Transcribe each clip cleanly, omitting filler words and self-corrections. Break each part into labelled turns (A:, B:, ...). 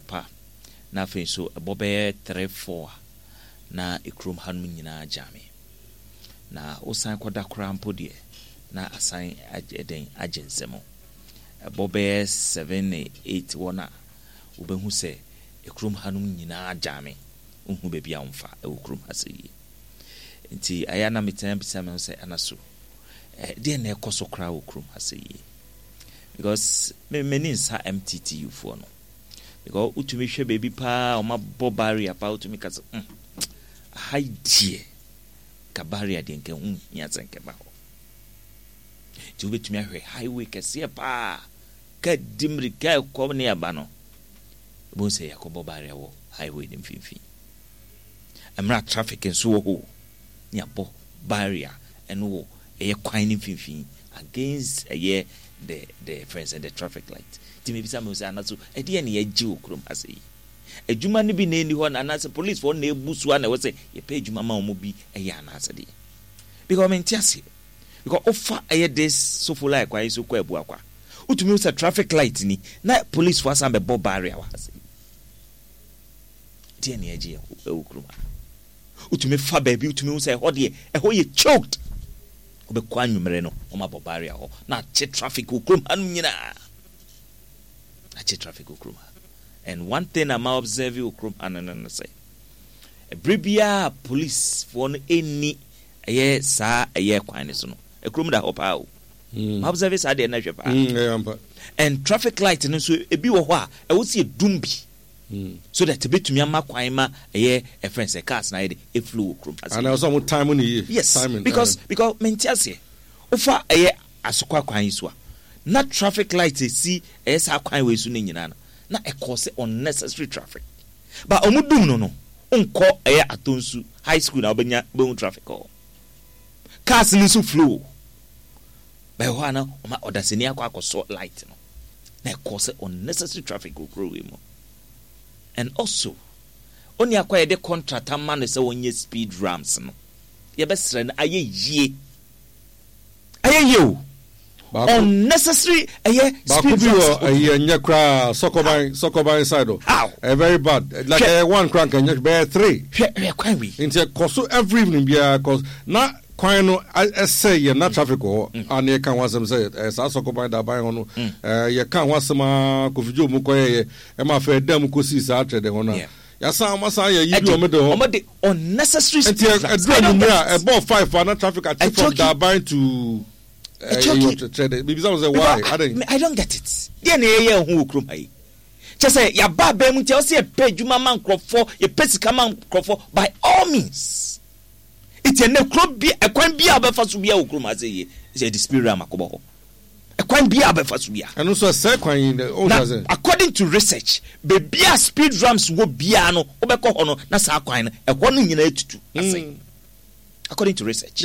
A: Anɔpa na afei nso ɛbɔ bɛyɛ 3, 4 a na ekurom hanom nyinaa gyame. Na wosan kɔda koraa mpo deɛ, na asan agye den agye nsam. Ɛbɔ bɛyɛ 7, 8 hɔ no a, wobɛhu sɛ ekurom hanom nyinaa gyame. Wonhu baabi a womfa wɔ kurom ha sɛ yie. Nti ɛyɛ a na metena bisa me ho sɛ, ana so deɛ na ɛkɔ so koraa wɔ kurom ha sɛ yie? Because me m'ani nsa MTTU foɔ no. Because wotumi hwɛ baabi paa a wɔabɔ barrier paa, wotumi ka sɛ, aha yi deɛ, nka barrier deɛ nka ɛho nhia sɛ nka ɛba hɔ. Nti wobɛtumi ahwɛ highway kɛseɛ paa, ka di mmirika ɛkɔ ne ɛba no, wobɛhu sɛ yɛakɔbɔ barrier wɔ highway no mfimfini. Mmerɛ a traffic nso wɔ hɔ, ne yɛabɔ barrier ɛno wɔ ɛyɛ kwan no mfimfini against ɛyɛ the friends the traffic light. Nti mebisa me ho sɛ, anaso ɛdeɛ ne yɛgye wɔ kurom ha sɛ yi? Adwuma no bi na ɛnni hɔ na anaasɛ policefoɔ na ɛbu so a na ɛwɔ sɛ yɛpɛ adwuma ma wɔn bi ɛyɛ anaasɛ deɛ? Because mente aseɛ. Because wofa ɛyɛ this Sofoline kwan yi so kɔ Abuakwa, wotumi hu sɛ traffic light ni na policefoɔ asan bɛbɔ barrier wɔ ha sɛ yi. Deɛ na yɛgye ɛwɔ kurom ha. Wotumi fa baabi, wotumi hu sɛ ɛhɔ deɛ ɛhɔ yɛ choked. Wobɛkɔ anwummerɛ no, wɔn abɔ barrier hɔ na akye traffic wɔ kurom ha nom nyinaa. Akye traffic wɔ kurom ha. And one thing a ma observe wɔ kurom ha no sɛ, ɛberɛ biara policefoɔ no ɛnni ɛyɛ saa ɛyɛ kwan no so no, ɛkurom da hɔ paa o. Ma observe saa deɛ no hwɛ paa.
B: Ɛyɛ ampa.
A: And traffic light no nso ebi wɔ hɔ a ɛwɔ sɛ yɛdum bi so that ebetumi ama kwan ma ɛyɛ ɛfɛn sɛ cars na ayɛ de eflow wɔ kurom ha.
B: Ana ɔsɛ ɔmo time ne yie.
A: Yes,
B: timing,
A: because mente aseɛ, wofa ɛyɛ Asokwa kwan yi so a, na traffic light esi ɛyɛ saa kwan wei so no nyinaa no na ɛkɔɔ sɛ unnecessary traffic, but ɔmo dum no, nkɔ ɛyɛ Atonsu High School na wobɛnya wobɛhu traffic hɔ, cars no nso flow bɛyɛ hɔ a na ɔma ɔdasani akɔ akɔsɔ light no na ɛkɔɔ sɛ unnecessary traffic wɔ kuro wei mu. And also oni akɔ a yɛde contract ama no sɛ wɔnyɛ speed ramps no, yɛbɛsrɛ no, ayɛ yie, ayɛ yie o. Unnecessary ɛyɛ
B: Baako
A: speed
B: bi
A: ramps.
B: Wɔ ɛyi ɛnyɛ koraa, Sɔkɔban side o.
A: How?
B: Ɛyɛ very bad. Like
A: Hwɛ.
B: Ɛyɛ one koraa nka ɛnyɛ, bɛyɛ three.
A: Hwɛ kwan wei.
B: Nti ɛkɔ so every evening biara, cause na kwan no ɛsɛ yɛ na traffic wɔ hɔ a na yɛka ho asɛm sɛ ɛɛ saa Sɔkɔban Daban hɔ no, ɛɛ yɛka ho asɛm aa Kofi Joe mu kɔyɛ yɛ ɛma afɛ ɛdan mu kɔsii saa atwɛdɛ hɔ no a yasan ɔmo asan yɛ yi bi ɔmo de hɔ.
A: Ɔmo de unnecessary
B: Nti
A: speed ramps.
B: ɛduru
A: I don't
B: anwummerɛ
A: get
B: a
A: it.
B: ɛbɔɔ 5 a na traffic akye from
A: Ɛchoki.
B: Daban to ɛɛ
A: Ɛchoki.
B: Twɛdɛ bibisa mo sɛ why
A: Because
B: adan.
A: I don't get it. Deɛ na yɛyɛ ho wɔ kurom ha yi, kyɛ sɛ yɛaba abɛn mu nti ɛwɔ sɛ yɛpɛ adwuma ma nkurɔfoɔ, yɛpɛ sika ma nkurɔfoɔ by all means. Nti ɛnɛ kuro bi, ɛkwan bi a wobɛfa so biara wɔ kurom ha sɛ yie sɛ yɛde speed ram akɔbɔ hɔ, ɛkwan bi a wobɛfa so biara.
B: Ɛno nso ɛsɛe kwan yi dɛ ɔn
A: Na
B: sɛ.
A: according to research, baabi a speed ramps wɔ biara no, wobɛkɔ hɔ no na saa kwan no ɛhɔ no nyinaa tutu asɛe, according to research.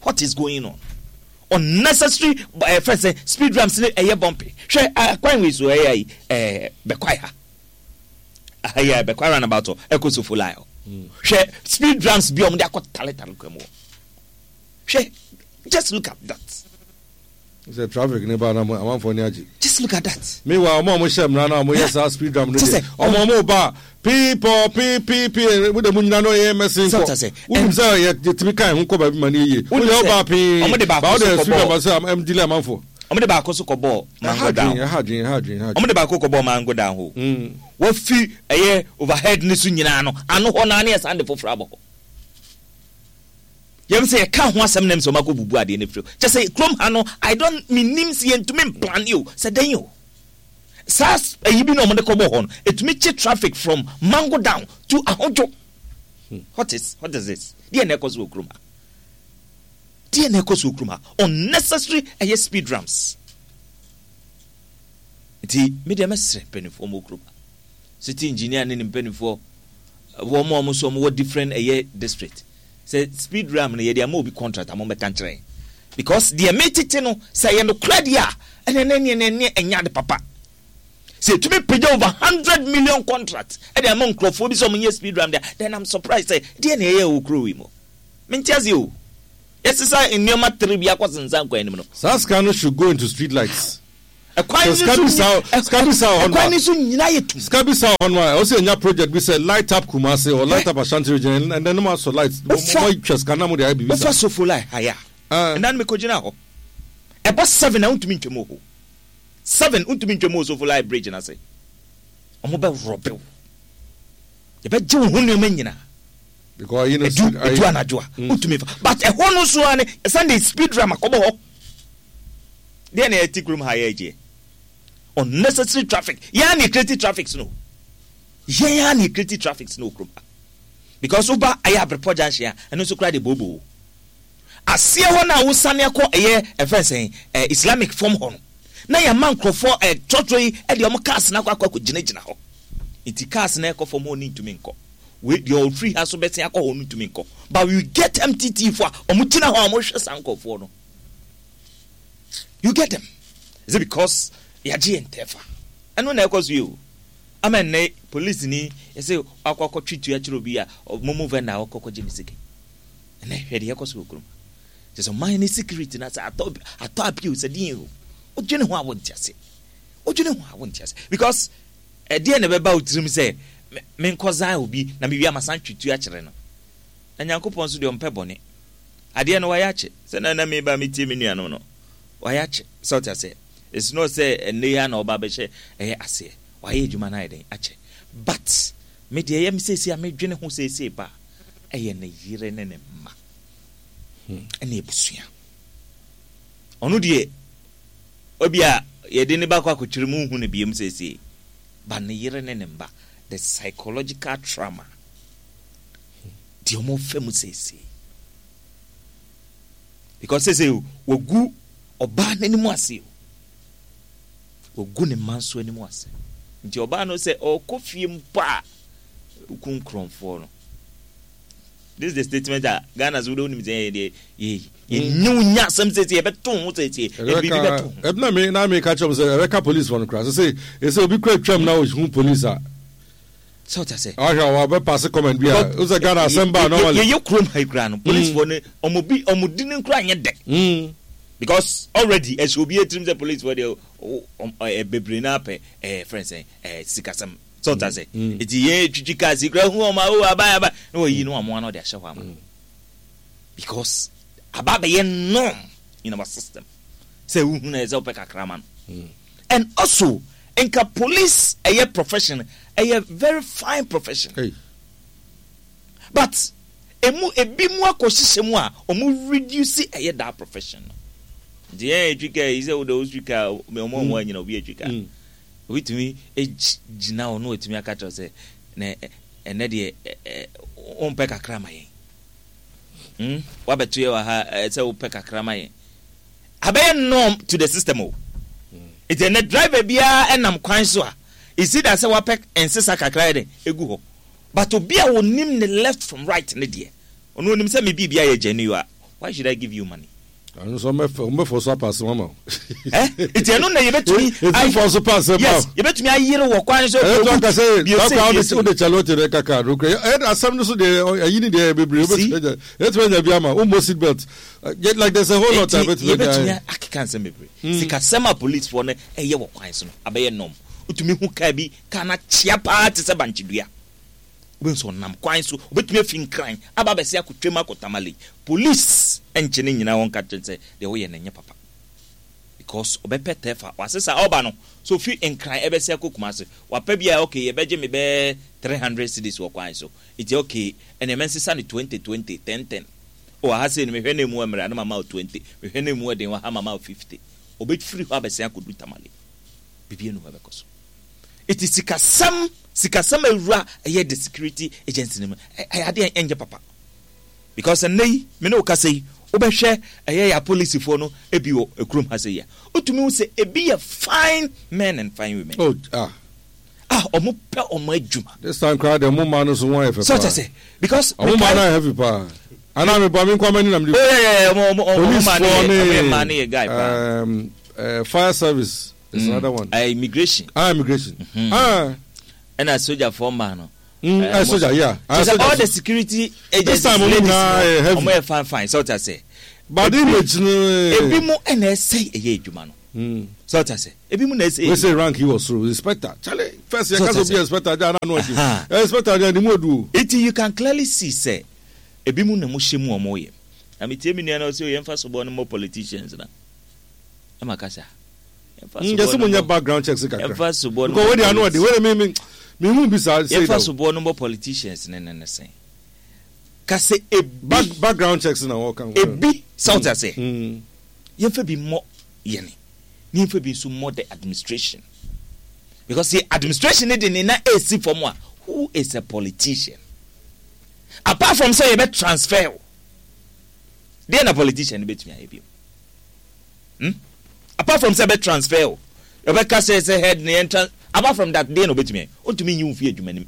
A: What is going on? Unnecessary fɛn sɛ speed ramps ne ɛyɛ bumpy. Hwɛ kwan wei so, ɛyɛ ayi Bɛkwae ha aha yi a Bɛkwae roundabout hɔ ɛkɔ Sofoline hɔ. Hwɛ speed ramps bi a wɔde akɔ taletale kwan mu hɔ. Hwɛ, just look at that.
B: Sɛ traffic ne ba na mo amanfoɔ ni agye.
A: Just look at that.
B: Meanwhile, ɔmo a ɔmo hyɛ mmara na ɔmo yɛ saa speed ramp no
A: Kyɛ
B: deɛ,
A: sɛ,
B: ɔmo ɔmo ba pii pɔ pii pii pii mo de mo nyina no yɛ mɛsen
A: Sɛ
B: kɔ.
A: ɔta sɛ,
B: Wonim sɛ yɛ yɛtumi kan ho kɔ baabi ma no yɛ yie.
A: Wonim
B: Woyɛ
A: sɛ,
B: ɔba pii
A: ɔmo de baako
B: ba
A: so
B: wode speed
A: kɔbɔɔ
B: ramp sɛ ɛm delay amanfoɔ.
A: Ɔmo de baako so kɔbɔɔ
B: Ɛha
A: Mango Down.
B: adwene, ɛha adwene, ɛha adwene, ɛha
A: Ɔmo
B: adwene.
A: de baako kɔbɔɔ Mango Down hɔ. Wafi ɛyɛ overhead ne so nyinaa no ano hɔ naa ne yɛsan de foforɔ abɔ hɔ. Yɛm sɛ yɛka ho asɛm nam sɛ ɔmo akɔ bubu adeɛ no firi hɔ. Kyɛ sɛ kurom ha no, I don't menim sɛ yɛntumi mplan o sɛ dɛn o. Saa ayi bi na ɔmo de kɔbɔɔ hɔ no, ɛtumi kye traffic from Mango Down to Ahodwo. What is this? Deɛ na ɛkɔ so wɔ kurom ha? Deɛ na ɛkɔ so wɔ kurom ha? Unnecessary ɛyɛ speed ramps. Nti me deɛ mɛsrɛ mpanimfoɔ mo wɔ kurom ha, city engineer ne ne mpanimfoɔ, wɔn a wɔn nso wɔn wɔ different ɛyɛ district, sɛ speed ramp no yɛde ama obi contract a, mo bɛka nkyerɛ yɛn, because deɛ metete no sɛ ɛyɛ nokorɛ deɛ a, ɛnɛ ne ne ne ɛnyɛ ade papa sɛ etumi pagya over 100 million contract ɛde ama nkurɔfoɔ bi sɛ wɔn nyɛ speed ramp deɛ. Then I'm surprised sɛ deɛ na ɛyɛ wɔ kuro yi mu. Mente ase o, yɛsesa nneɛma tere bi akɔ sensan kwan anim no.
B: Saa sika no should go into street lights.
A: Ɛkwan
B: Sɛ
A: no
B: sika
A: so
B: bi saa
A: nyi-
B: sika bi saa wɔ hɔ no
A: ɛkwan
B: a
A: no so nyinaa yɛ tum.
B: sika bi saa wɔ hɔ no a ɛwɔ sɛ yɛnya project bi sɛ light up Kumasi or light up Ashanti region ɛnɛ no mo asɔ light mo
A: Wofa-
B: mo atwa sika na mo de ayɛ biribi
A: Wofa
B: saa.
A: Sofoline ha yi a,
B: Ah.
A: ɛnna no mekɔgyina hɔ. Ɛbɔ 7 a wontumi ntwam wɔ hɔ. 7 wontumi ntwam wɔ Sofoline bridge no ase. Wɔn bɛworɔbe wo. Yɛbɛgye wo ho nneɛma nyinaa.
B: Because ayi no
A: Edu
B: ayi-
A: edu anadwo a wontumi fa. But ɛhɔ no nso ara ne Sunday speed ram akɔbɔ hɔ. Deɛ na yɛte kurom ha yɛ agyeɛ. Unnecessary traffic. Yɛn a na yɛ traffic no. Yɛn a na yɛ traffic no wɔ kurom ha. Because woba ɛyɛ Abrepɔ junction a ɛno nso koraa de booboo. Aseɛ hɔ no a wosane akɔ ɛyɛ ɛfɛn sɛn ɛ Islamic fam hɔ no na yɛama nkurɔfoɔ ɛ trɔtrɔ yi ɛde wɔn cars no akɔ akɔ akɔ gyinagyina hɔ. Nti cars no ɛkɔ fam hɔ no ntumi nkɔ. Wei deɛ ɔfiri ha so bɛsen akɔ hɔ no ntumi nkɔ. But we get MTT foɔ a wɔn gyina hɔ a wɔhwɛ saa nkurɔfoɔ no. You get them. Is it because yɛagye yɛn tɛfa? Ɛno na ɛkɔ so yi o. Ama nnɛ police ni yɛsɛ akɔ akɔtwe tua kyerɛ obi a momo vendor a ɔkɔ kɔgye ne sika. Ɛnɛ hwɛ deɛ ɛkɔ so wɔ kurom. Kyerɛ sɛ ɔman ne security na sɛ atɔ atɔ apio sɛ deɛ o. Wodwene ho a wonte ase. Wodwene ho a wonte ase. Because ɛdeɛ na ɛbɛba wo tirim sɛ menkɔzan obi na mewie amasan twe tua kyerɛ no. Na Nyankopɔn nso deɛ ɔmpɛ bɔne. Adeɛ no wayɛ akyɛ. Sɛ na na meba metie me nuanom no. Wayɛ akyɛ. Sɛ ɔte aseɛ. It's not sɛ ɛnnɛ yi ara na ɔba abɛhyɛ ɛyɛ aseɛ. Wayɛ adwuma no ayɛ dɛn akyɛ. But me deɛ ɛyɛ me seesei a medwene ho seesei paa ɛyɛ ne yere ne ne mma ɛne abusua. Ɔno deɛ ebia yɛde ne ba kɔ akɔkyerɛ mu nhu no biom seesei. But ne yere ne ne mma, the psychological trauma deɛ wɔfa mu seesei. Because seesei wagu ɔbaa n'anim ase o. Wagu ne mma nso anim ase. Nti ɔbaa no sɛ ɔrekɔ fie mpo a, woku nkurɔfoɔ no. This is the statement a Ghana so wode wonim sɛ yɛ deɛ yɛ yɛnyɛ wo nya asɛm seesei yɛbɛto ho seesei yɛde biribi bɛto ho.
B: Ɛbɛka na me na meka kyerɛ m sɛ ɛbɛka police fɔ no koraa sɛ sɛ ɛsɛ obi kura twam na ɔhu police a
A: Sɛ ɔte ase.
B: Ahwɛ a wɔbɛpaase comment bi a wosɛ Ghana asɛm ba normally.
A: Yɛyɛ kurom ha yi koraa no police fɔ no ɔmo bi ɔmo di ne koraa nyɛ dɛ. Because already ɛhyɛ obi etirim sɛ police fɔ deɛ ɛ bebree naa pɛ ɛɛ fɛn sɛn ɛɛ sikasɛm. Sɛ ɔte ase. Eti yɛn twitwi cars yi koraa hu ɔmo a o aban aban na wɔyi no amoa na ɔde ahyɛ hɔ ama. Because aba abɛyɛ norm in our system sɛ wohu na ɛsɛ wopɛ kakra ma no. And also nka police ɛyɛ profession ɛyɛ very fine profession.
B: Hey.
A: But emu ebi mu akɔhyehyɛ mu a ɔmo reduce ɛyɛ that profession no. Nti yɛn etwi kaa yi sɛ wode wotwi kaa ɔmo ɔmo anyina obi etwi kaa. Obi tumi gyina hɔ na watumi aka kyerɛ sɛ na ɛnɛ deɛ wompɛ kakra ma yɛn. Hmm? Wabɛto yɛ wɔ ha sɛ wopɛ kakra ma yɛn. Abɛyɛ norm to the system o. Nti ɛnɛ driver biara ɛnam kwan so a, it's either sɛ wapɛ nsesa kakra yɛ dɛn egu hɔ. But obi a onim ne left from right ne deɛ, ɔno onim sɛ me biribi ayɛ genuine a, why should I give you money?
B: Ɛno nso ɔmbɛfɔ so apa asɛm ama wo.
A: Eh? Nti ɛno na yɛbɛtumi
B: Ɛfɔ so pa asɛm ma
A: Yes, yɛbɛtumi ayere wɔ kwan so.
B: Ɛyɛ to aka sɛ kakra wode kyale wote dɛ kaka no kura. Ɛyɛ asɛm no so deɛ ayi ne deɛ bebree wobɛtumi anya anya bi ama wommɔ seat belt. Like there's a whole lot a
A: yɛbɛtumi anya. Yɛbɛtumi akeka nsɛm bebree. Sikasɛm a policefoɔ no ɛyɛ wɔ kwan so no abɛyɛ norm. Wotumi hu kaa bi, kaa no akyea paa te sɛ bankye dua. Wobɛhu sɛ ɔnam kwan so, obɛtumi afi Nkran aba abɛse akɔtwam akɔ Tamale. Police nkye no nnyina hɔ nka kyerɛ no sɛ deɛ woyɛ no ɛnyɛ papa. Because ɔbɛpɛ tɛfa, wasesa ɔba no, sɛ ofi Nkran ɛbɛse akɔ Kumasi, wapɛ bi a okay yɛbɛgye me bɛyɛ 300 cedis wɔ kwan so, nti okay ɛneɛ mɛnsesa no 20 20, 10 10. Oh aha sei no mehwɛ na ɛmu ɛmmerɛ a na mama wo 20, mehwɛ na ɛmu ɛden wɔ ha mama wo 50. Ɔbɛfiri hɔ abɛsen akɔdu Tamale. Biribi ɛnu hɔ ɛbɛkɔ so. Eti sikasɛm sikasɛm awura ɛyɛ the security agency no mu ɛyɛ adeɛ ɛnyɛ papa because ɛnɛ yi me ne wo kasa yi wobɛhwɛ ɛyɛ yɛ apolisifoɔ no ebi wɔ ekurom ha sɛ yi a wotumi hu sɛ ebi yɛ fine men and fine women.
B: Oh, ah.
A: Ah, ɔmo pɛ ɔmo adwuma.
B: This time koraa deɛ ɔmo mmaa no so ho ayɛ fɛ paa.
A: So ɔkyɛ sɛ because.
B: Ɔmo mmaa no ayɛ heavy paa. Anaa mi bɔ mi nkwa m'ani na mi di.
A: Oh yeah yeah ɔmo ɔmo ɔmo mmaa no yɛ ɔmo yɛ mmaa no yɛ guy paa.
B: Um, uh, fire service. It's mm. another one.
A: Immigration.
B: Ah, immigration. Mm -hmm. Ah.
A: And a soldier for man. No.
B: Soldier, yeah.
A: So all the security agencies,
B: this time,
A: ladies,
B: no,
A: no, heavy. Fine, fine. So what I say.
B: But image no.
A: Ebi mu ɛna ɛsɛ ɛyɛ adwuma no. Sɛ ɔte ase, ebi mu na ɛsɛ.
B: Wei sɛ rank yi wɔ soro, inspector. Charlie, first yɛ kasa obi inspector gya na ano ɔdi. Inspector gya ne mu odu o.
A: Eti you can clearly see sɛ ebi mu na mo hyɛ mu ɔmo yɛ. Na me tie me nua na ɔsɛ o yɛn fa soboɔ no mmɔ politicians na. Ɛma kasa.
B: Yɛn fa soboɔ no mmɔ background checks kakra.
A: Yɛn fa soboɔ
B: no mmɔ. Because ano ɔdi, wei de mi mi mi hu bi saa.
A: Yɛn fa soboɔ no mmɔ politicians ne ne ne sɛn. Kasa ebi.
B: Background checks na wɔka.
A: Ebi sɛ ɔte ase. Yɛn fa bi mmɔ yɛne ne yɛn fa bi nso mmɔ the administration because the administration ne de ne na esi fam a who is a politician apart from sɛ yɛbɛ transfer o deɛ na politician no bɛtumi ayɛ bio hmm? Apart from sɛ bɛ transfer o yɛbɛka sɛ sɛ head ne yɛn trans apart from that deɛ na ɔbɛtumi ayɛ ɔntumi nyi wo fi adwuma nim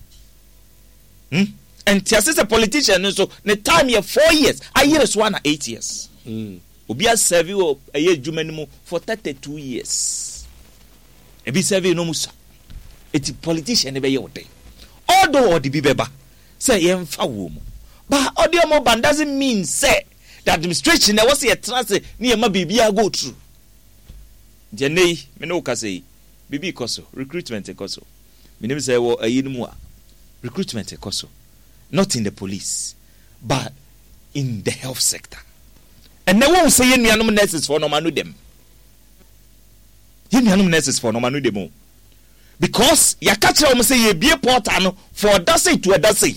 A: hmm? Ɛnte ase sɛ politician no nso ne time yɛ 4 years ayere so ana 8 years. Obi aserve wɔ ɛyɛ adwuma no mu for 32 years, ebi serve no mu sa eti politician no bɛyɛ ɔden although ɔde bi bɛba sɛ yɛmfa wɔ mu but ɔde ɔmo ban doesn't mean sɛ the administration na ɛwɔ sɛ yɛtena ase ne yɛma biribiara go through. Nti ɛnɛ yi me ne wo kasa yi, biribi kɔ so, recruitment kɔ so. Menim sɛ ɛwɔ ayi no mu a recruitment kɔ so, not in the police but in the health sector. Ɛnɛ wɔn sɛ yɛn nuanom nurses foɔ no ɔmo ano dɛm, yɛn nuanom nurses foɔ no ɔmo ano dɛm o, because yɛaka kyerɛ wɔn sɛ yɛbie portal no for ɔda sei to ɔda sei,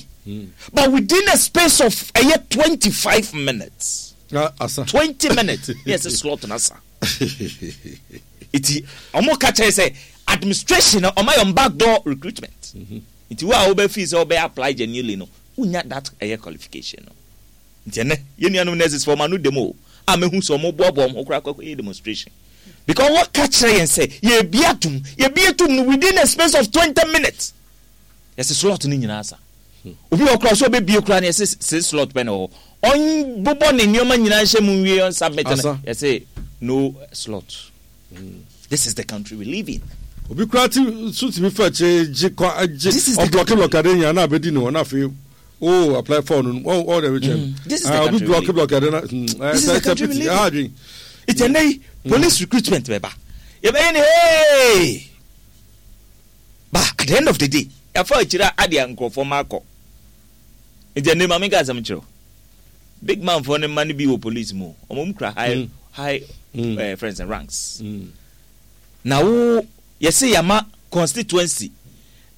A: but within a space of ɛyɛ 25 minutes,
B: asa
A: 20 minutes, ne yɛsɛ slot na sa. Eti ɔmo ka kyerɛ sɛ administration no ɔmo ayɛ ɔmo back door recruitment, nti wo a wobɛ feel sɛ wobɛ apply genuinely no, wonya that ɛyɛ qualification no. Nti ɛnɛ yɛn nuanom nurses fɔ ɔmo ano dɛm o a mehu sɛ ɔmo boaboa ɔmo ho koraa kɔkɔ yɛ demonstration because wɔka kyerɛ yɛn sɛ yɛbi atum, yɛbi atum no within a space of 20 minutes yɛsɛ slot no nyinaa sa. Obi wɔ koraa sɛ ɔbɛbie koraa no, yɛsɛ six slot pɛ na ɛwɔ hɔ. Ɔnbobɔ ne nneɛma nyinaa nhyɛ mu nwie, ɔnsubmit no, yɛsɛ no slot. This is the country we live in.
B: Obi koraa ti so tumi fa akyire gye kɔ gye ɔblɔke blɔke ade nyinaa na abɛdi ne hɔ na afei o apply for no ɔ ɔ dɛbi kyɛn.
A: This is the country
B: obi blɔke blɔke ade na
A: This is the country we live in. Ìtẹ̀ nne yi police recruitment bɛ ba, yɛbɛyɛ ne hey, but at the end of the day yɛafa akyire a adeɛ nkurɔfoɔ ma akɔ. Nti ɛnne maame nka asɛm kyerɛw, big man foɔ ne mma no bi wɔ police mu, wɔn mu kura high high friends and ranks. Na wo yɛsɛ yɛama constituency,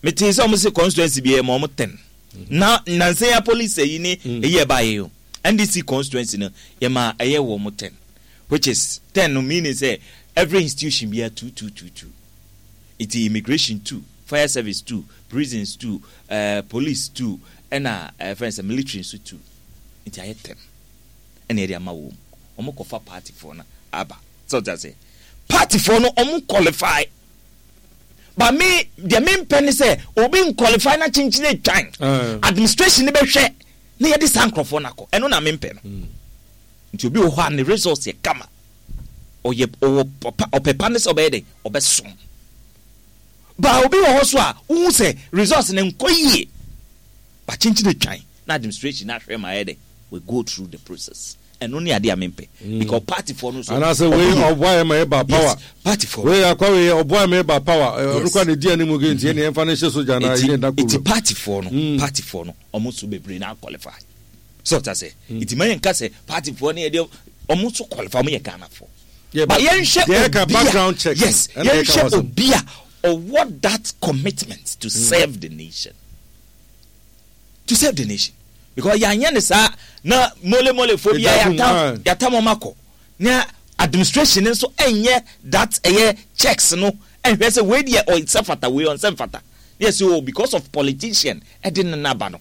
A: mete sɛ wɔn sɛ constituency bi yɛ ma wɔn 10 na nansa ya police ayi ne eyi ɛba yɛ o NDC constituency no yɛ ma ɛyɛ wɔn 10, which is 10 no meaning sɛ every institution bi yɛ two two two two. Nti immigration two, fire service two, prisons two, police two, ɛna fɛn sɛ military nso two, nti ayɛ 10 ɛna yɛde ama wɔn mu. Wɔn kɔfa party foɔ no aba sɛ ɔte ase, party foɔ no wɔn qualify, but me deɛ me mpɛ ne sɛ obi nqualify na kyenkyen etwan administration ne bɛhwɛ na yɛde saa nkorɔfoɔ no akɔ. Ɛno na me mpɛ no. Nti obi wɔ hɔ a ne results yɛ kama, ɔyɛ ɔwɔ papa, ɔpɛ pa ne sɛ ɔbɛyɛ dɛ ɔbɛsom ba. Obi wɔ hɔ so a wohu sɛ results ne nkɔ yie ba, kyenkyen etwan na administration na ahwɛ ma ayɛ dɛ we go through the process. Ɛno ne adeɛ a mempɛ because party foɔ no so
B: anaasɛ wei ɔboa yɛ ma yɛ ba power.
A: Yes, party foɔ.
B: Wei akwa wei ɔboa yɛ ma yɛ ba power. Ɔno kora ne di anim ge nti ɛne yɛmfa no hyɛ soja na yɛ nda
A: kuro. Eti party foɔ no, party foɔ no ɔmo nso bebree na qualify sɛ ɔta sɛ eti ma yɛn ka sɛ party foɔ no yɛ deɛ ɔmo nso qualify, ɔmo yɛ Ghana foɔ, but yɛnhwɛ obi a, yes, yɛnhwɛ obi a ɔwɔ that commitment to serve the nation, to serve the nation, because yɛanyɛ ne saa na mole mole fo bi a yɛatam yɛatam ɔmo akɔ na administration nso ɛnyɛ that ɛyɛ checks no ɛnhwɛ sɛ wei deɛ ɔnsɛ fata, wei ɔnsɛ mfata, ne yɛ sɛ oh, because of politician ɛde ne naba no,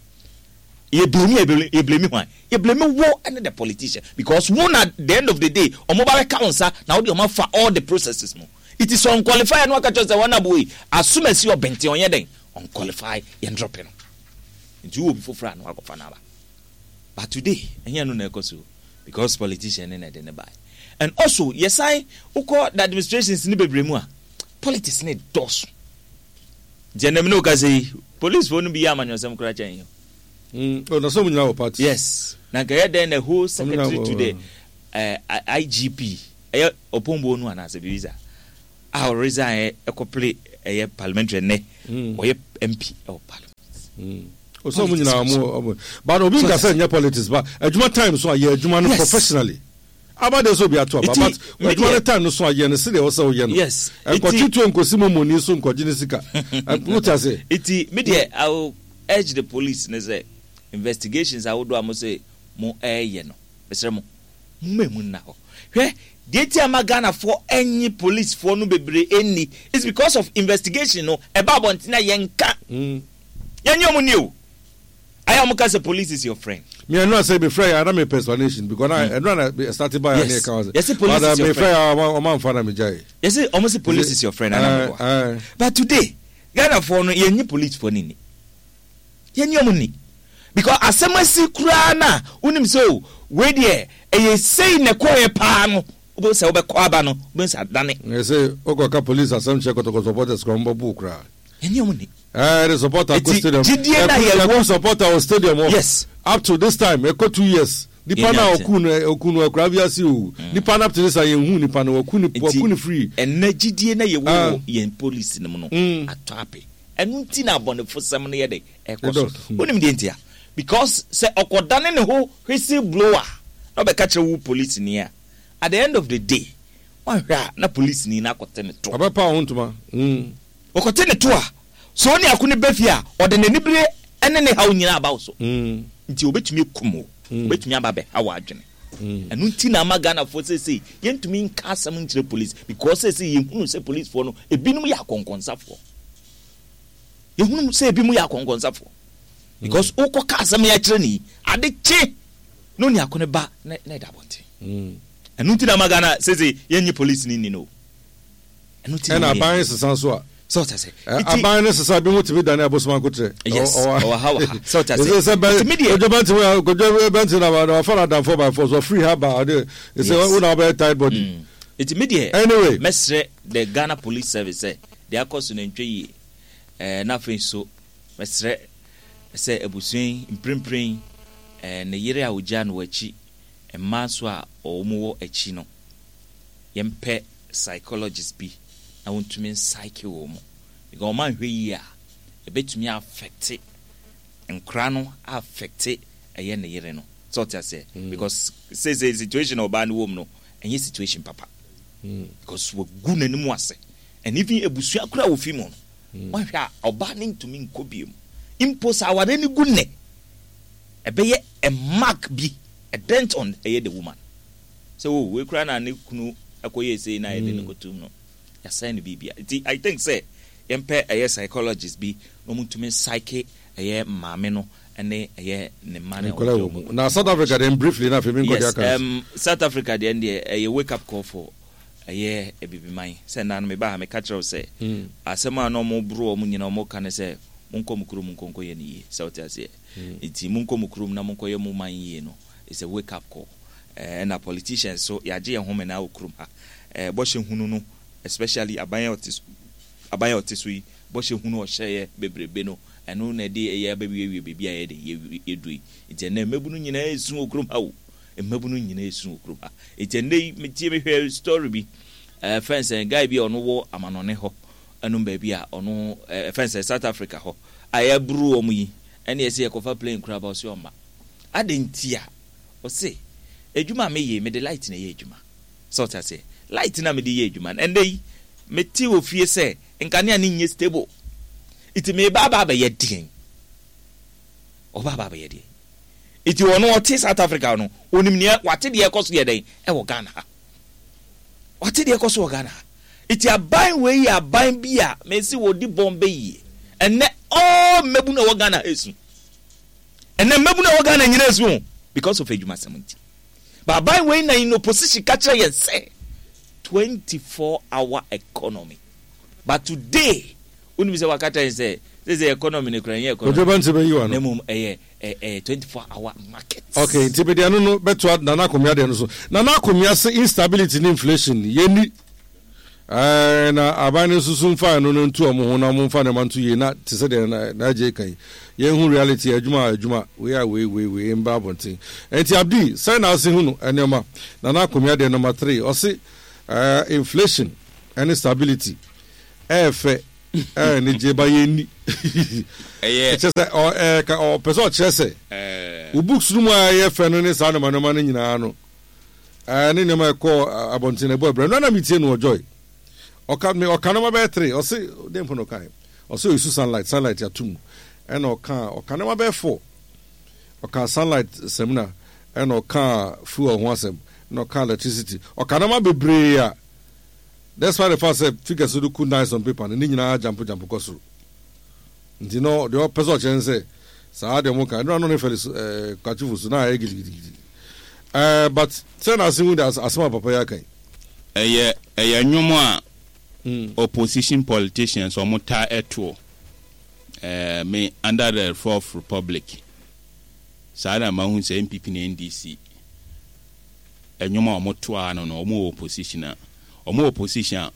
A: yɛ blame yɛ yɛ blame hwan? Yɛ blame wo ɛne the politician, because wo na the end of the day ɔmo ba bɛka wo nsa na wode ɔmo afa all the processes mu. It is unqualified no aka kyerɛ sɛ wɔn abo yi asomasi ɔbɛnten ɔnyɛ dɛn unqualified, yɛn drop no. Nti wo obi foforɔ a na wakɔfa no aba, but today ɛnyɛ no na ɛkɔ so because politician ne na ɛde ne ba. And also yɛsan wokɔ the administrations ne bebree mu a politics ne dɔɔso. Nti ɛnam ne okasa yi, police foɔ no bi yɛ amanyɔsɛm koraa kyɛn yi.
B: Oh, na sɛ mo nyinaa wɔ party.
A: Yes, na nka ɛyɛ dɛn na whole secretary to the IGP ɛyɛ ɔpɔnbo no anaasɛ biribi saa. A ɔresign ɛkɔpere ɛyɛ parliamentary ɛnɛ ɔyɛ MP ɛwɔ parliament.
B: Ɔsɛ ɔmo nyinaa ɔmo ɔmo but obi nka sɛ nyɛ politics, but adwuma time so a, yɛ adwuma no professionally. Aba de sɛ obi ato aba, but adwuma no time no so a, yɛ no sɛdeɛ ɛwɔ sɛ woyɛ no. Nkɔtwe tuo nkosi momoni so nkɔgye ne sika. Wote ase?
A: Eti me deɛ, I will urge the police ne sɛ investigations ahodoɔ a mo sɛ mo ɛɛyɛ no, mesrɛ mo, momma emu nna hɔ. Hwɛ, deɛ nti a ma Ghanafoɔ ɛnye policefoɔ no bebree ɛnni is because of investigation no ɛba abɔnten a yɛnka. Yɛnye ɔmo nni o. Ayɛ a ɔmo ka sɛ police is your friend.
B: Me ɛnura sɛ mefrɛ yɛ a na mepɛ explanation because na ɛnura na start ba yɛ ne ɛka wase.
A: Yɛse police is your
B: friend. Mefrɛ yɛ a ɔmo anfa na megyae.
A: Yɛse ɔmo se police is your friend ana meboa. But today Ghanafoɔ no yɛnye policefoɔ no nni. Yɛnye ɔmo nni. Because asɛm asi koraa na wonim sɛ o wei deɛ ɛyɛ sei na ɛkɔɔyɛ paa no, wobɛhu sɛ wobɛkɔ aba no wobɛhu sɛ adane.
B: Yɛse wokɔka police asɛm kyerɛ Kɔtɔkɔ supporters koraa ɔmo bɛbo wo koraa.
A: Yɛnye ɔmo nni.
B: Ɛɛ de supporter kɔ stadium.
A: Gyidie na yɛ
B: wɔ. Supporter wɔ stadium hɔ. Yes. Up to this time ɛkɔ 2 years. Nipa na ɔku no, ɔku no akura bi ase o. Nipa na up to this time yɛn hu nipa no, wɔku no, wɔku no free.
A: Ɛnɛ gyidie na yɛ wɔ wɔ yɛn police no mu no atɔ ape. Ɛno nti na abɔnefo sɛm no yɛ dɛ ɛkɔ so. Wonim deɛ nti a? Because sɛ ɔkɔdane ne ho whistle blower na ɔbɛka kyerɛ wo police ni a, at the end of the day, wanhwɛ a na police ni no akɔte ne to.
B: Ɔbɛpa wo ho ntoma.
A: Ɔkɔte ne to a, sɛ ɔne ako no ba fie a, ɔde n'anibere ne ne haw nyinaa aba wo so. Nti obetumi akum wo, obetumi aba abɛha w'adwene. Ɛno nti na ama Ghanafoɔ seesei yɛntumi nka asɛm nkyerɛ police because seesei yɛhunu sɛ policefoɔ no ebinom yɛ akɔnkɔnsafoɔ. Yɛhunu sɛ ebinom yɛ akɔnkɔnsafoɔ because wokɔka asɛm yi akyerɛ ne yi, ade kye na ɔne ako no ba na ɛda abɔnten. Ɛno nti na ama Ghana seesei yɛnnye police no nni no o.
B: Ɛna aban sesa nso a.
A: Sɛ ɔte ase.
B: Aban no sesa bi mu tumi dane abosom akotrɛ.
A: Yes. Ɔwɔ ha wɔ ha. Sɛ ɔte ase.
B: Sɛ bɛ kodwo bɛnti kodwo bɛnti na wafa na adamfo by force ɔfiri ha ba ɔde sɛ wo na ɔbɛyɛ tight body.
A: Eti mi deɛ.
B: Anyway.
A: Mɛsrɛ the Ghana Police Service sɛ deɛ akɔ so no ntwa yie. Ɛɛ na afei nso mɛsrɛ sɛ abusua yi mprempren ɛɛ ne yere a ogyaa no wɔ akyi, mmaa nso a wɔn wɔ akyi no, yɛmpɛ psychologist bi na wɔntumi nsaeke wɔn mu because wɔn anhwɛ yie a, ɛbɛtumi affect nkora no, affect ɛyɛ ne yere no, sɛ ɔte aseɛ, because seesei situation a ɔbaa no wɔ mu no ɛnyɛ situation papa because wagu n'anim ase and even abusua koraa a ofi mu no, wɔahwɛ a ɔbaa no ntumi nkɔ bio mu mpo. Sɛ aware no gu nnɛ, ɛbɛyɛ a mark bi, a dent on ɛyɛ the woman sɛ o wei koraa na ne kunu akɔyɛ sei na yɛde no kɔtum no, yɛasɛn no biribia. Nti I think sɛ yɛmpɛ ɛyɛ psychologist bi na ɔmo psyche ɛyɛ maame no ɛne ɛyɛ ne mma no.
B: Nkɔla wɔ mu na South Africa deɛ, briefly na afei mi nkɔ deɛ aka.
A: South Africa deɛ deɛ ɛyɛ wake up call for ɛyɛ abibiman sɛ nna no meba ha meka kyerɛ wo sɛ asɛm a na ɔmo boro ɔmo nyina ɔmo ka ne sɛ monkɔ mo kurom nkɔnkɔ yɛ no yie, sɛ wote aseɛ. Nti monkɔ mo kurom na monkɔyɛ mo man yie no it's a wake up call. Ɛna politicians so yɛagye yɛn home na wɔ kurom ha. Bɔhyɛ hunu no, especially aban a ɔte so, aban a ɔte so yi, bɔhyɛ hunu a ɔhyɛeɛ bebrebe no, ɛno na ɛde ɛyɛ abɛwiewie baabi a yɛde yɛduru yi. Nti ɛnnɛ mmabunu nyinaa resu wɔ kurom ha o. Mmabunu nyinaa resu wɔ kurom ha. Nti ɛnnɛ yi metie mehwɛ story bi, fɛn sɛ guy bi a ɔno wɔ amanɔne hɔ ɛnom baabi a ɔno fɛn sɛ South Africa hɔ a yɛaburu wɔn yi, ɛne ɛsɛ yɛkɔfa plane koraa ba, ɔse ɔmma. Adɛn nti a? Ɔse, adwuma a meyɛ yi, mede light na ɛyɛ adwuma. Sɛ ɔte aseɛ? Light no a mede yɛ adwuma no, ɛnnɛ yi, mete wɔ fie sɛ nkanea no nyɛ stable. Nti meba aba abɛyɛ deɛn? Ɔba aba abɛyɛ deɛn? Nti ɔno ɔte South Africa no, ɔnim neɛ, wate deɛ ɛkɔ so yɛ dɛn ɛwɔ Ghana ha. Wate deɛ ɛkɔ so wɔ Ghana ha. Nti aban wei yɛ aban bi a mesi wɔdi bɔn bɛyie. Ɛnnɛ, all mmabunu a ɛwɔ Ghana ha esu. Ɛnɛ mmabunu a ɛwɔ Ghana nyinaa esu o because of adwumasɛm nti. But aban wei na in opposition ka kyerɛ yɛn sɛ 24 hour economy. But today wonim sɛ waka kyerɛ yɛn sɛ sɛ sɛ economy no kura nyɛ economy.
B: Kojo Bɛnti bɛyi wa
A: no. Na mmom ɛyɛ 24 hour market.
B: Okay, nti mede ɛno no bɛtoa Nana Akomea deɛ no so. Nana Akomea se instability ne inflation yɛnni. Ɛɛ, na aban no nso so mfa ɛno no nto wɔn ho na wɔmfa nneɛma nto yie na te sɛ deɛ na na agye kan yi. Yɛnhu reality, adwuma a adwuma, wei a wei wei wei mba abɔnten. Ɛnti Abdi, sɛn na ase hu no nneɛma? Nana Akomea deɛ number 3, ɔse ɛɛ inflation. Ɛne stability ɛyɛ fɛ ɛyɛ anigye ba yɛn ni.
C: Ɛyɛ.
B: Kyerɛ sɛ ɔ ɛɛ ka ɔpɛ sɛ ɔkyerɛ sɛ.
C: Ɛɛ.
B: Wo books no mu a ɛyɛ fɛ no ne saa nneɛma nneɛma no nyinaa no ɛɛ ne nneɛma ɛkɔ abɔnten ɛbɔ ɛbrɛ no na metie no wɔ Joy. Ɔka me ɔka nneɛma bɛyɛ three ɔse den mpo na ɔka ɔse oyisu sunlight sunlight ato mu ɛna ɔka ɔka nneɛma bɛyɛ four ɔka sunlight samina ɛna ɔka fuel ho asɛm ɛna ɔka electricity ɔka nneɛma bebree a Despite the fact sɛ figures no look nice on paper no, ne nyinaa jampo jampo kɔ soro. Nti no, deɛ ɔpɛ sɛ ɔkyerɛ ne sɛ, saa deɛ ɔmo ka, ɛno ano ne Felix eh, Kwachifo so na ayɛ gidigidigidi. Eh, but sɛ na ase hu de asɛm a papa yi aka yi.
C: Ɛyɛ ɛyɛ nnwom a opposition politicians wɔn taa ɛtoɔ. Ɛɛ me under the fourth republic saa na mahu sɛ NPP ne NDC. Nnwom a ɔmo to ara no no ɔmo wɔ opposition a ɔmo wɔ opposition a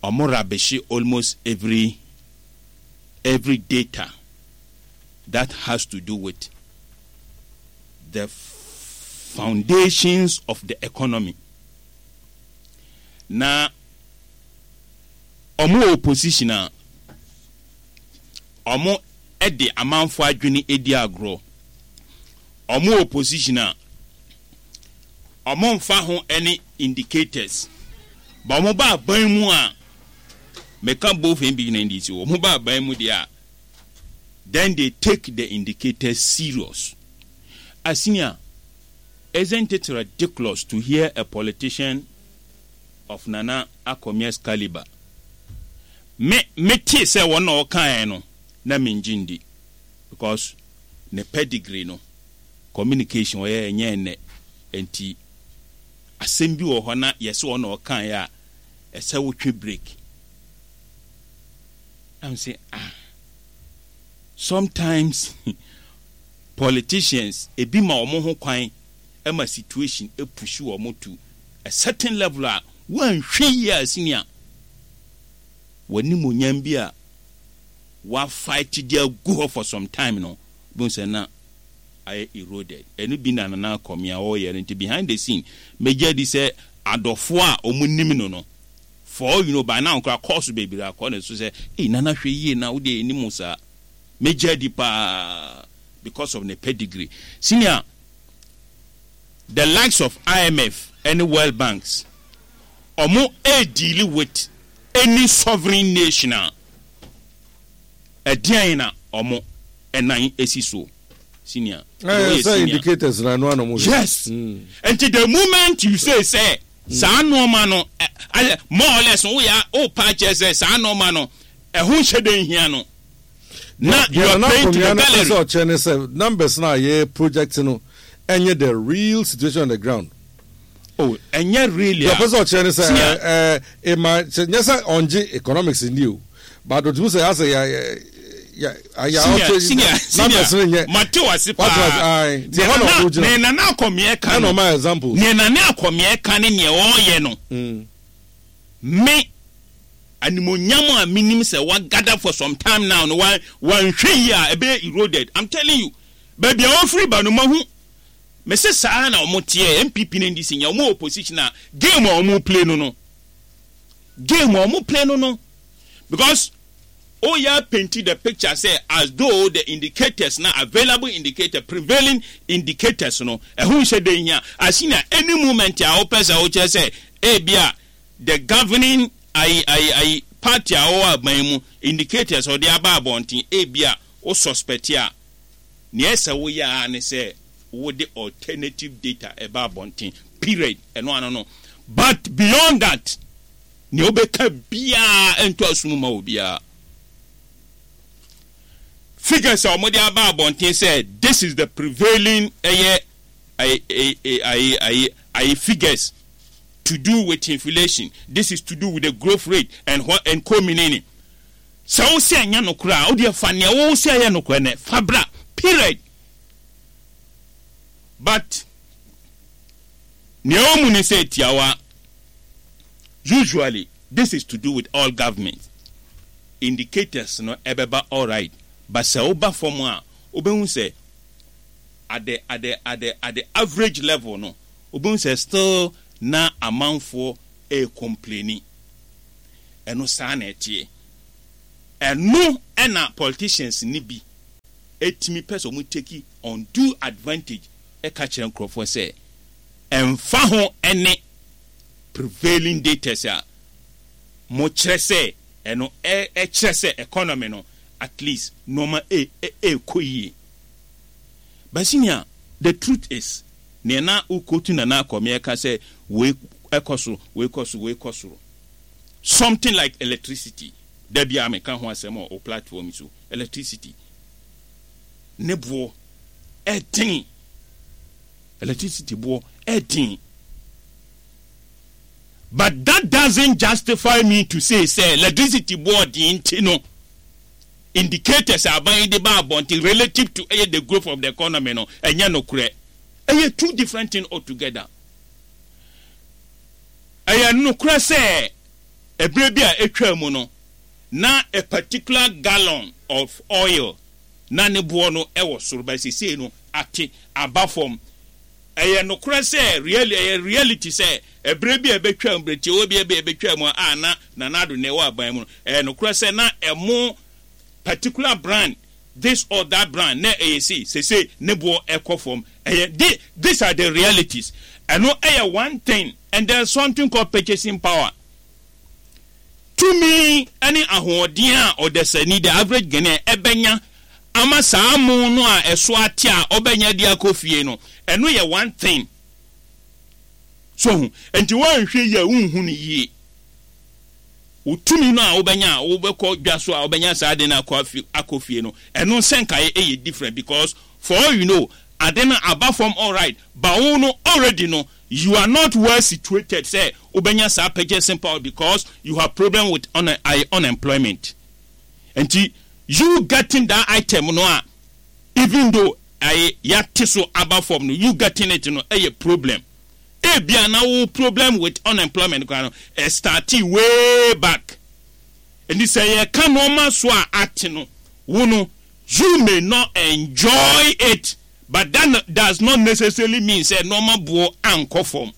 C: ɔmo rubbishe almost every every data that has to do with the foundations of the economy na ɔmo wɔ opposition a ɔmo de amanfoɔ adwene di agorɔ. Ɔmo wɔ position a ɔmo nfa ho ne indicators but ɔmo ba aban mu a, meka both NPP ne NDC o, ɔmo ba aban mu deɛ a, then they take the indicators serious. Asinia, isn't it ridiculous to hear a politician of Nana Akomeah's caliber? Me, me tee sɛ wɔn na ɔkaeɛ no, na mengye ndi. Because ne pedigree no, communication ɔyɛ ɛnyɛ ɛnnɛ nti asɛm bi wɔ hɔ na yɛsɛ ɔna ɔkaeɛ a ɛsɛ wotwe break. Na me se ah sometimes politicians ebi ma wɔn ho kwan ma situation push wɔn to a certain level a woanhwɛ yie a senior w'animuonyam bi a wa fight de agu hɔ for some time no, wobɛhu sɛ na ayɛ eroded. Ɛno bi na Nana Akomea ɔreyɛ no nti behind the scene, mɛgye adi sɛ adɔfoɔ a wɔn nim no no, for all you know, by now koraa calls bebree akɔ ne so sɛ, ei Nana hwɛ yie na wodeɛ yɛnim wo saa. Mɛgye adi paa because of ne pedigree. Senior, the likes of IMF ɛne World Banks, wɔn ɛredeal with any sovereign nation a, ɛdeɛn na ɔmo nan si so senior
B: Ɛɛ
C: woyɛ
B: sɛ
C: senior
B: indicators na ɛno ana ɔmo hwɛ.
C: Yes nti the moment you say sɛ saa nnoɔma no ayɛ more or less woyɛ wopa akyerɛ sɛ saa nnoɔma no ɛho nhyɛ dɛ nhia no na you
B: Deɛ
C: are
B: Nana
C: praying to the
B: Akomea no pɛ
C: gallery.
B: sɛ ɔkyerɛ ne sɛ numbers no a yɛ project no ɛnyɛ the real situation on the ground.
C: Oh, ɛnyɛ really
B: Deɛ
C: a.
B: ɔpɛ sɛ ɔkyerɛ ne sɛ
C: Senior.
B: ɛɛ ɛɛ ema kyɛ nyɛ sɛ ɔngye economics nni o but otumi sɛ asɛ ya ya ya ya
C: Senior,
B: ɔkyɛ
C: senior, senior.
B: numbers no nyɛ.
C: Mate wase
B: Wate wase
C: paa.
B: ae nti ɛhɔ na ɔde gyina.
C: Nea Nana Akɔmeɛ ka
B: Ɛna
C: no.
B: ɔma examples.
C: Nea Nana Akɔmeɛ ka ne nea ɔreyɛ no. Me animonyam a menim sɛ wa gather for some time now no wa wanhwɛ yie a ɛbɛyɛ eroded. I'm telling you. Baabi a ɔfiri ba no mahu. Mese saa na ɔmo teɛ, NPP ne NDC nyɛ, ɔmo wɔ opposition a game a ɔmo play no no, game a ɔmo play no no, because woyɛ painti the picture sɛ as though the indicators na available indicator, prevailing indicators no, ɛho nhyɛ da nhia, as in a any moment a wopɛ sɛ wokyerɛ sɛ ebia the governing ayi ayi ayi party a ɔwɔ aban mu indicators a ɔde aba abɔnten ebia wo suspect a, Nea ɛsɛ woyɛ ara ne sɛ wode alternative data ɛba abɔnten, period, ɛno ano no. But beyond that, nea wobɛka biara ɛntɔ asom mma obiara. Figures a wɔde aba abɔnten sɛ this is the prevailing ɛyɛ ayi ayi ayi ayi figures to do with inflation, this is to do with the growth rate and what and co meaning. Sɛ wo se ɛnyɛ nokorɛ a, wo deɛ fa neɛ wo se ɛyɛ nokorɛ no fa bra. Period. But neɛ ɛwɔ mu ne sɛ tiawa, usually this is to do with all government, indicators no ɛbɛba alright, but sɛ woba fam a, wobɛhu sɛ at the, at the, at the, at the average level no, wobɛhu sɛ still na amanfoɔ ɛrecomplaini. Ɛno saa na ɛteɛ. Ɛno na politicians no bi tumi pɛ sɛ wɔn take undue advantage ka kyerɛ nkorɔfoɔ sɛ ɛmfa ho ne prevailing datas a mokyerɛ sɛ ɛno ɛkyerɛ sɛ economy no at least nnoɔma ɛrekɔ yie. But senior, the truth is nea na wo quote Nana Akomea ɛka sɛ wei ɛkɔ soro, wei kɔ soro, wei kɔ soro. Something like electricity, da biara meka ho asɛm wɔ wo platform yi so, electricity ne boɔ ɛden, electricity boɔ ɛden. But that doesn't justify me to say sɛ electricity boɔ den nti no, indicators a aban yi de ba abɔnten relative to ɛyɛ the growth of the economy no, ɛnyɛ nokorɛ. Ɛyɛ two different thing altogether. Ɛyɛ nokorɛ sɛ ɛberɛ bi a atwaa mu no, na a particular gallon of oil na ne boɔ no wɔ soro, but seesei no ate aba fam. Ɛyɛ nokorɛ sɛ really, ɛyɛ reality sɛ ɛberɛ bi a ɛbɛtwaa mu, berɛ tiawa bi a ɛbɛtwaa mu a na Nana Addo na ɛwɔ aban mu no, ɛyɛ nokorɛ sɛ na ɛmo particular brand, this or that brand, na ɛyɛ sei, seesei ne boɔ ɛkɔ fam. Ɛyɛ, the, these are the realities. Ɛno ɛyɛ one thing, and there is something called purchasing power. Tumi ne ahoɔden a ɔdasani, the average Ghanaian, ɛbɛnya ama saa mo no a ɛso ate a ɔbɛnya de akɔ fie no, ɛno yɛ one thing. So ho? Nti woanhwɛ yie a wonhu no yie. Wo tumi no a wobɛnya a wobɛkɔ dwa so a wobɛnya saa ade no akɔ afi akɔ fie no, ɛno nsɛnkaeɛ yɛ different because for all you know, ade no aba fam alright, but wo no already no, you are not well situated sɛ wobɛnya saa purchasing power because you have problem with un unemployment. Nti you getting that item no a even though aye yɛate so aba fam no, you getting it no ɛyɛ problem. Ebia na wo problem with unemployment koraa no, ɛstartee way back. Nti sɛ yɛka nnoɔma so a ate no, wo no, you may not enjoy it, but that does not necessarily mean sɛ nnoɔma boɔ ankɔ fam.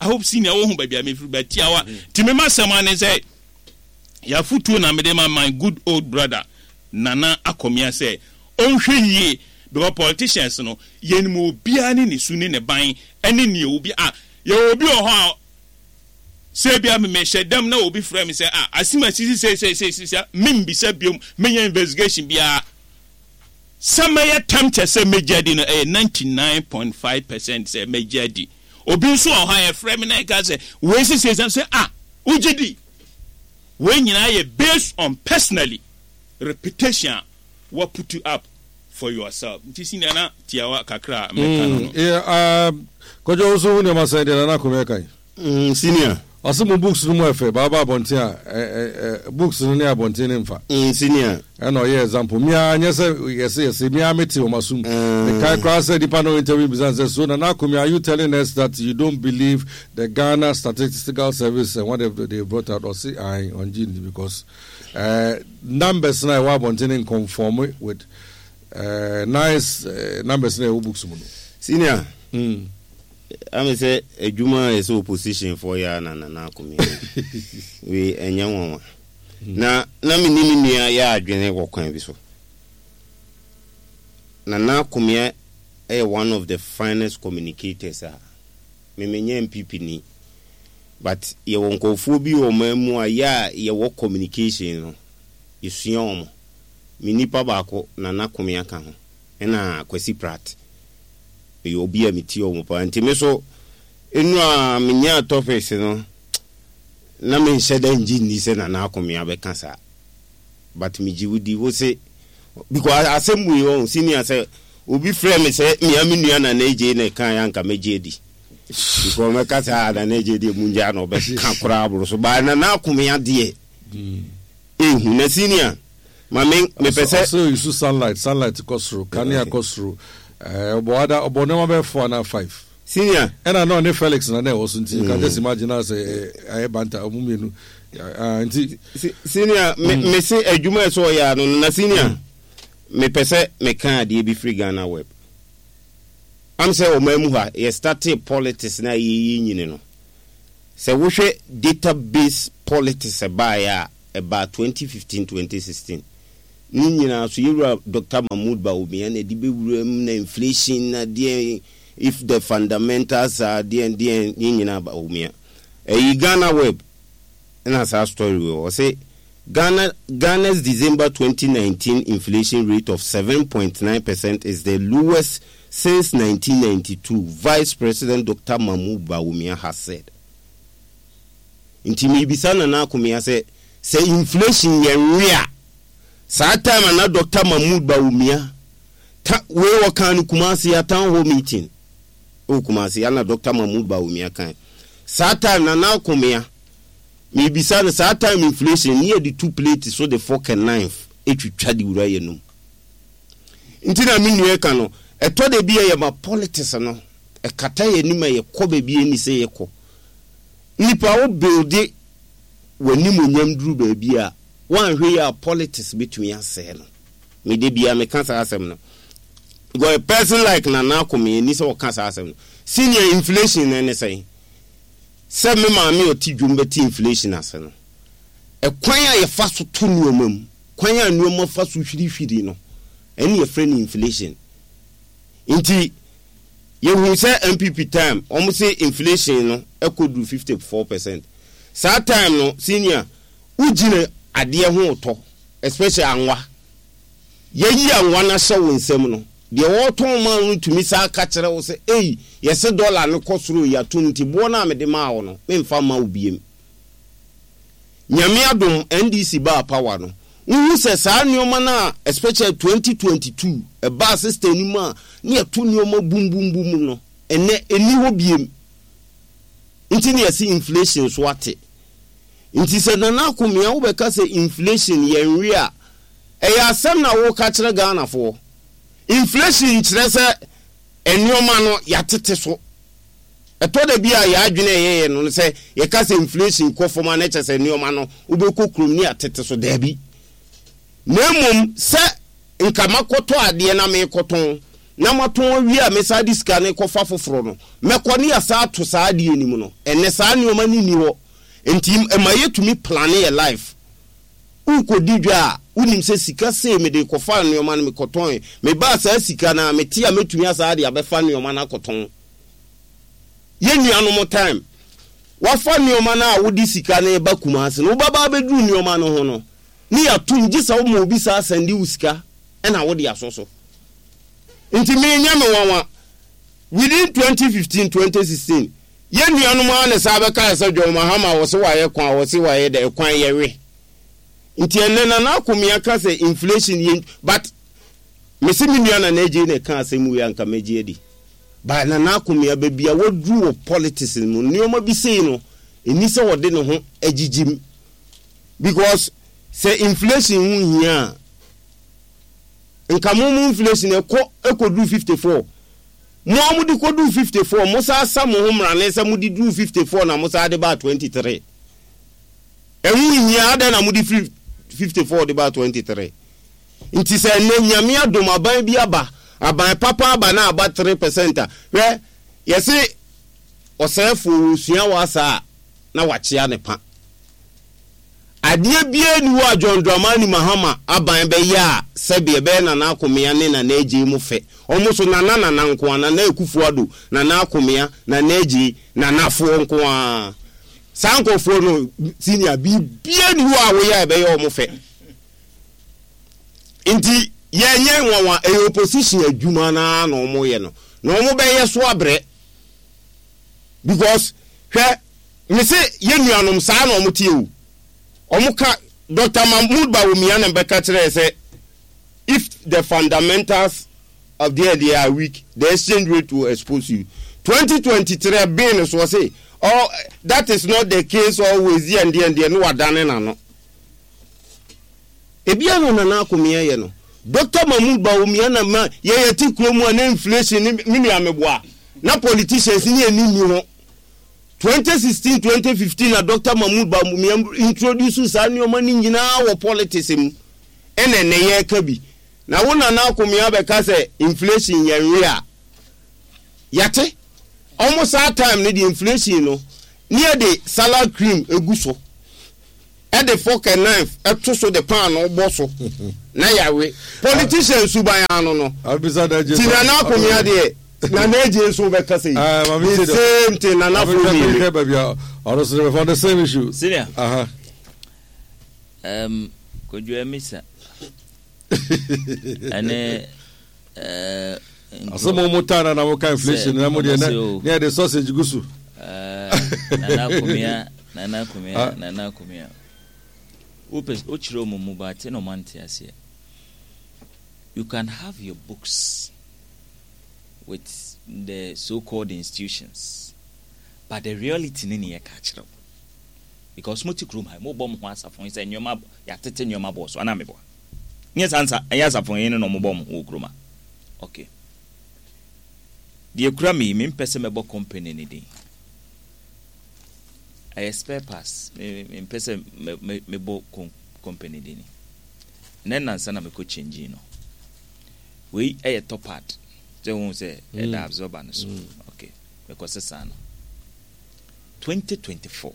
C: I hope senior wohu baabi a mefiri ba tiawa. Nti me m'asɛm ara ne sɛ, yɛafotuo na mede ma my good old brother Nana Akomea sɛ ɔnhwɛ yie because politicians no yɛnim obiara ne ne su ne ne ban ne nea obi a yɛwɔ obi wɔ hɔ a sɛ ebia me mehyɛ dam na obi frɛ me sɛ ah asim asisi sei sei sei sei sei membisa biom menyɛ investigation biara sɛ mɛyɛ tempted sɛ mɛgye adi no ɛyɛ 99.5 percent sɛ mɛgye adi obi nso wɔ hɔ a yɛfrɛ me na ɛka sɛ wei sisi sei sɛ ah wogye di wei nyinaa yɛ based on personally reputation a wa put up for yourself nti senior na tiawa kakra a mɛka no no.
B: Yeah, um, kɔjɔ wo so wo nneɛma sɛn deɛ Nana Akomea kan?
D: Mm, senior.
B: Ɔse mo books no mu ɛfɛ, baaba abɔnten a, ɛ, ɛ, ɛ, books no ne abɔnten no mfa.
D: Mm, senior.
B: Ɛna ɔyɛ example. Me ara nyɛ sɛ yɛse yɛse, me ara mete wɔn asom.
D: Mm.
B: Mekae koraa sɛ nipa no interview bisa no sɛ, so Nana Akomea, are you telling us that you don't believe the Ghana Statistical Service and whatever they brought out? Ɔse ae, ɔngye nni because eh, numbers na ɛwɔ abɔnten no nconform with eh, nice eh, numbers na ɛwɔ books mu no.
D: Senior.
B: Mm.
D: Ame sɛ adwuma a ɛsɛ opposition foɔ yɛ a na Nana Akomea wei ɛnyɛ nwanwa. Na na me ne me nua yɛ adwene wɔ kwan bi so. Nana Akomea yɛ one of the finest communicators a me menyɛ NPP ni but yɛwɔ nkurɔfoɔ bi wɔ ɔman mu a yɛ a yɛwɔ communication no yɛsua wɔn. Me nipa baako Nana Akomea ka ho ɛna Kwasi Pratt. Meyɛ obi a metie wɔn paa nti me so nnura a menyaa topics no na menhyɛ da ngye nni sɛ Nana Akomea bɛka saa but megye wo di wo se because asɛm wei ɔho senior sɛ obi frɛ me sɛ mea me nua Nana Adjei na ɛkaeɛ a anka mɛgye adi because mɛka sɛ ah Nana Adjei deɛ mungyaa na ɔbɛka koraa aboro so but Nana Akomea deɛ ehu na senior ma me mepɛ sɛ.
B: Ɔsɛ oyisu sunlight sunlight kɔ soro kanea kɔ soro ɛɛ ɔbɔ ada ɔbɔ nneɛma bɛyɛ four anaa five.
D: Senior.
B: Ɛna na ɔne Felix na na ɛwɔ so nti you can just imagine na sɛ ayɛ banta ɔmo mmienu ah nti.
D: Senior me me se adwuma ɛsɛ ɔyɛ ano no na senior mepɛ sɛ meka adeɛ bi firi Ghana web am sɛ ɔman mu ha yɛ startee politics na yɛyɛ nyini no. Sɛ wohwɛ database politics ɛbaeɛ a, ɛbaa 2015, 2016. Ne nyinaa so yɛwura Doctor Mahmood Bawumia na ɛde bɛwura mu na inflation na deɛn, if the fundamentals are deɛn deɛn, ne nyinaa Bawumia. Ɛyi Ghana web na saa story wei wɔ. Ɔse Ghana, Ghana's December 2019 inflation rate of 7.9% is the lowest since 1992, Vice President Doctor Mahmoud Bawumia has said. Nti mebisa Nana Akomea sɛ, sɛ inflation yɛ nwe a, saa time a na Doctor Mahmoud Bawumia, ta, wei wɔkaa no Kumasi, a town hall meeting wɔ Kumasi, ana Doctor Mahmoud Bawumia kae. Saa time Nana Akomea, Mebisa no, saa time inflation ne yɛde tu plate so de fork and knife twitwa de wura yɛnum. Nti na me nua ka no, ɛtɔ da bi a yɛma politics no ɛkata yɛn anim a yɛkɔ baabi a ɛnni sɛ yɛkɔ. Nipa wo builde w'animuonyam duru baabi a, woanhwɛ yie a politics bɛtumi asɛe no. Me da biara meka saa asɛm no. Because a person like Nana Akomea ɛnni sɛ ɔka saa asɛm no. Senior inflation no ɛne sɛn? Sɛ me maame a ɔte dwom bɛte inflation ase no, ɛkwan a yɛfa so to nneɛma mu, kwan a nneɛma fa so hwirihwiri no, ɛne yɛfrɛ no inflation. Nti, yɛhu sɛ NPP time, wɔn se inflation no ɛkɔduru 54%. Saa time no, senior, wogyina adeɛ ho retɔ, especially anwa. Yɛayi anwa no ahyɛ wo nsam no, deɛ ɔretɔn ma wo no tumi san ka kyerɛ wo sɛ, Ei, yɛse dɔla no kɔ soro yi atom nti boɔ no a mede maa wo no, memfa mma wo biom. Nyame adom, NDC baa power no, wohu sɛ saa nneɛma no a, especially 2022, ɛbaa system no mu a na yɛto nneɛma bum bum bum no, ɛnnɛ ɛnni hɔ biom. Nti na yɛse inflation so ate. Nti sɛ Nana Akomea wobɛka sɛ inflation yɛnwe a, Ɛyɛ asɛm na woka kyerɛ Ghanafoɔ. Inflation nkyerɛ sɛ nnoɔma no yɛatete so. Ɛtɔ da bi a yɛn adwene a ɛyɛ yɛn no sɛ yɛka sɛ inflation kɔ fam a na kyerɛ sɛ nnoɔma no wobɛkɔ kurom ne yɛatete so. Daabi. Na mmom sɛ nka makɔtɔ adeɛ na merekɔtɔn na matɔn awie a mesan de sika no rekɔfa foforɔ no, mɛkɔ ne yɛasan ato saa adeɛ no mu no, ɛnnɛ saa nnoɔma no nni hɔ. Nti ɛma yɛtumi plane yɛn life. Worekɔdi dwa a, wonim sɛ sika sei mede rekɔfa nnoɔma no mekɔtɔn. Mebaa saa sika no a, mete a mɛtumi asan de abɛfa nnoɔma no akɔtɔn. Yɛn nuanom time, woafa nnoɔma no a wode sika no reba Kumasi no, wobɛba abɛduru nnoɔma no ho no, ne yɛatom gye sɛ woma obi saa sɛnde wo sika na wode asɔ so. Nti me nyɛ me nwanwa, within 2015, 2016, Yɛn nuanom ara na saa bɛkae sɛ John Mahama wɔse wayɛ kwan wɔse wayɛ dɛ ɛkwan yɛwe nti ɛnɛ Nana Akomea ka sɛ inflation yɛ but mese me nua Nana Adjei na ɛka asɛm wei anka mɛgye adi but Nana Akomea baabi a waduru wɔ politics mu nneɛma bi sei no ɛni sɛ ɔde ne ho agyigye because sɛ inflation ho hia a nka mo mo inflation ɛkɔ ɛkɔduru 54 Mo a mode kɔduu 54, mosan sa mo ho mmrane sɛ mode duruu 54 na mosan de baa 23. Ɛho nhia, adɛn na mode firi 54 de baa 23? Nti sɛ ɛnnɛ Nyame adom aban bi aba, aban papa aba na aba 3 percent a, hwɛ, yɛse ɔsɛefoɔ wɔsua w'asa a na wakyea ne pa. Adeɛ biara nni hɔ a John Dramani Mahama aban bɛyɛ a sɛbe ɛbɛyɛ Nana Akomea ne Nana Adjei mo fɛ. Wɔn nso Nana Nana nko ara, Nana Akufo Addo, Nana Akomea, Nana Adjei, Nanafoɔ nko ara. Saa nkorɔfoɔ no senior, biribiara nni hɔ a woyɛ a ɛbɛyɛ wɔn fɛ. Nti yɛnyɛ nwanwa, ɛyɛ opposition adwuma no ara na wɔyɛ no. Na wɔbɛyɛ so abrɛ. Because hwɛ, Me se yɛn nuanom saa na wɔn teɛ o. Wɔn ka, Doctor Mahmood Bawumia na bɛka kyerɛɛ sɛ if the fundamentals of their they are weak, the exchange rate will expose you. 2023 ɛbee no so ɔse oh, that is not the case always deɛ deɛ deɛ no wadane n'ano. Ebia na Nana Akomea yɛ no. Doctor Mahmood Bawumia na ma yɛyɛ te kurom a na inflation ne me nua meboa na politicians ne ani nni ho. 2016, 2015 na Doctor Mahmood Bawumia introduce saa nneɛma no nyinaa wɔ politics mu ɛna ɛnɛ yɛreka bi. Na wo Nana Akomea bɛka sɛ inflation yɛ nwe a, yɛate. Ɔmo saa time no deɛ inflation no. Ne yɛde salad cream gu so, de fork and knife to so de paanoo bɔ so na yɛawe. Politician suban ara no no. Nti Nana Akomea deɛ, Nana Adjei nso bɛka sɛ yi. The same thing, Nana fo mmienu.
B: Ɔno the same issue.
A: Senior. Um, Kojo Amisa. Ɛne Eh,
B: Ɔsɛ mo mo taa na na mo ka inflation na mo deɛ na ne yɛ de sausage gu so.
A: Eh, nana akomia, nana akomia, ah. Nana akomia. Wopɛ wokyerɛ wɔn mu ba te na wɔn ante aseɛ. You can have your books with the so-called institutions, but the reality ne ne yɛ ka kyerɛ wo. Because mo te kurom ha, mo bɔ mo ho asafo sɛ nneɛma yɛatete nneɛma bɔɔ so anaa meboa. Nyɛ saa nsa ɛnyɛ asafo he ne na ɔmo bɔ ɔmo ho wɔ kurom a. Ok. Deɛ ekura me yi, me mpɛ sɛ mɛbɔ company no din. Ɛyɛ spare parts, me me mpɛ sɛ mɛ mɛ mebɔ company din. Nnɛ nnansa na mekɔ change no. Wei ɛyɛ top pad, sɛ wohu sɛ ɛda absorber no so. Ok, mekɔ sesaa no. 2024,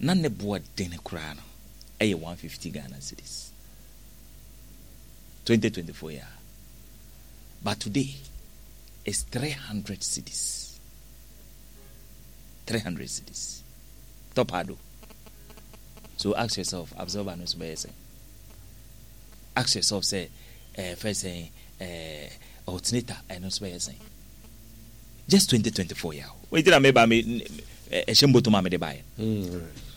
A: na ne boɔ dene koraa no. Ɛyɛ 150 Ghana cedis 2024 yi a but today is 300 cedis 300 cedis top ado. So ask yourself, absorber no so bɛyɛ sɛn? Ask yourself sɛ ɛɛ fɛ sɛn ɛɛ alternator ɛno nso bɛyɛ sɛn? Just 2024 yi a o nti na meba me ɛhyɛ mbotom a mede baeɛ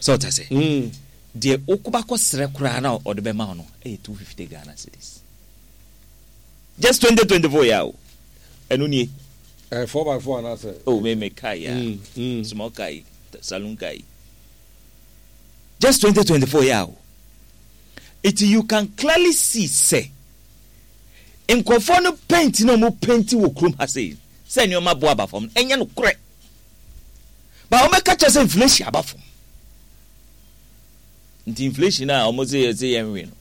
A: sɛ ɔta sɛ deɛ wokoba kɔ srɛ koraa na ɔde bɛma wo no ɛyɛ 250 Ghana cedis just 2024 yi a o ɛno nie.
B: Eh, 4x4 anaasɛ?
A: Oh, me me car yi a, small car yi, saloon car yi. Just 2024 yi a o. Iti you can clearly see sɛ Nkurɔfoɔ no paint na wɔn paint wɔ kurom ha sei sɛ nneɛma bo aba fam no, ɛnyɛ nokorɛ. Ba wɔn bɛka kyerɛ sɛ inflation aba fam. Nti inflation a wɔn sɛ yɛsɛ yɛn nwe no,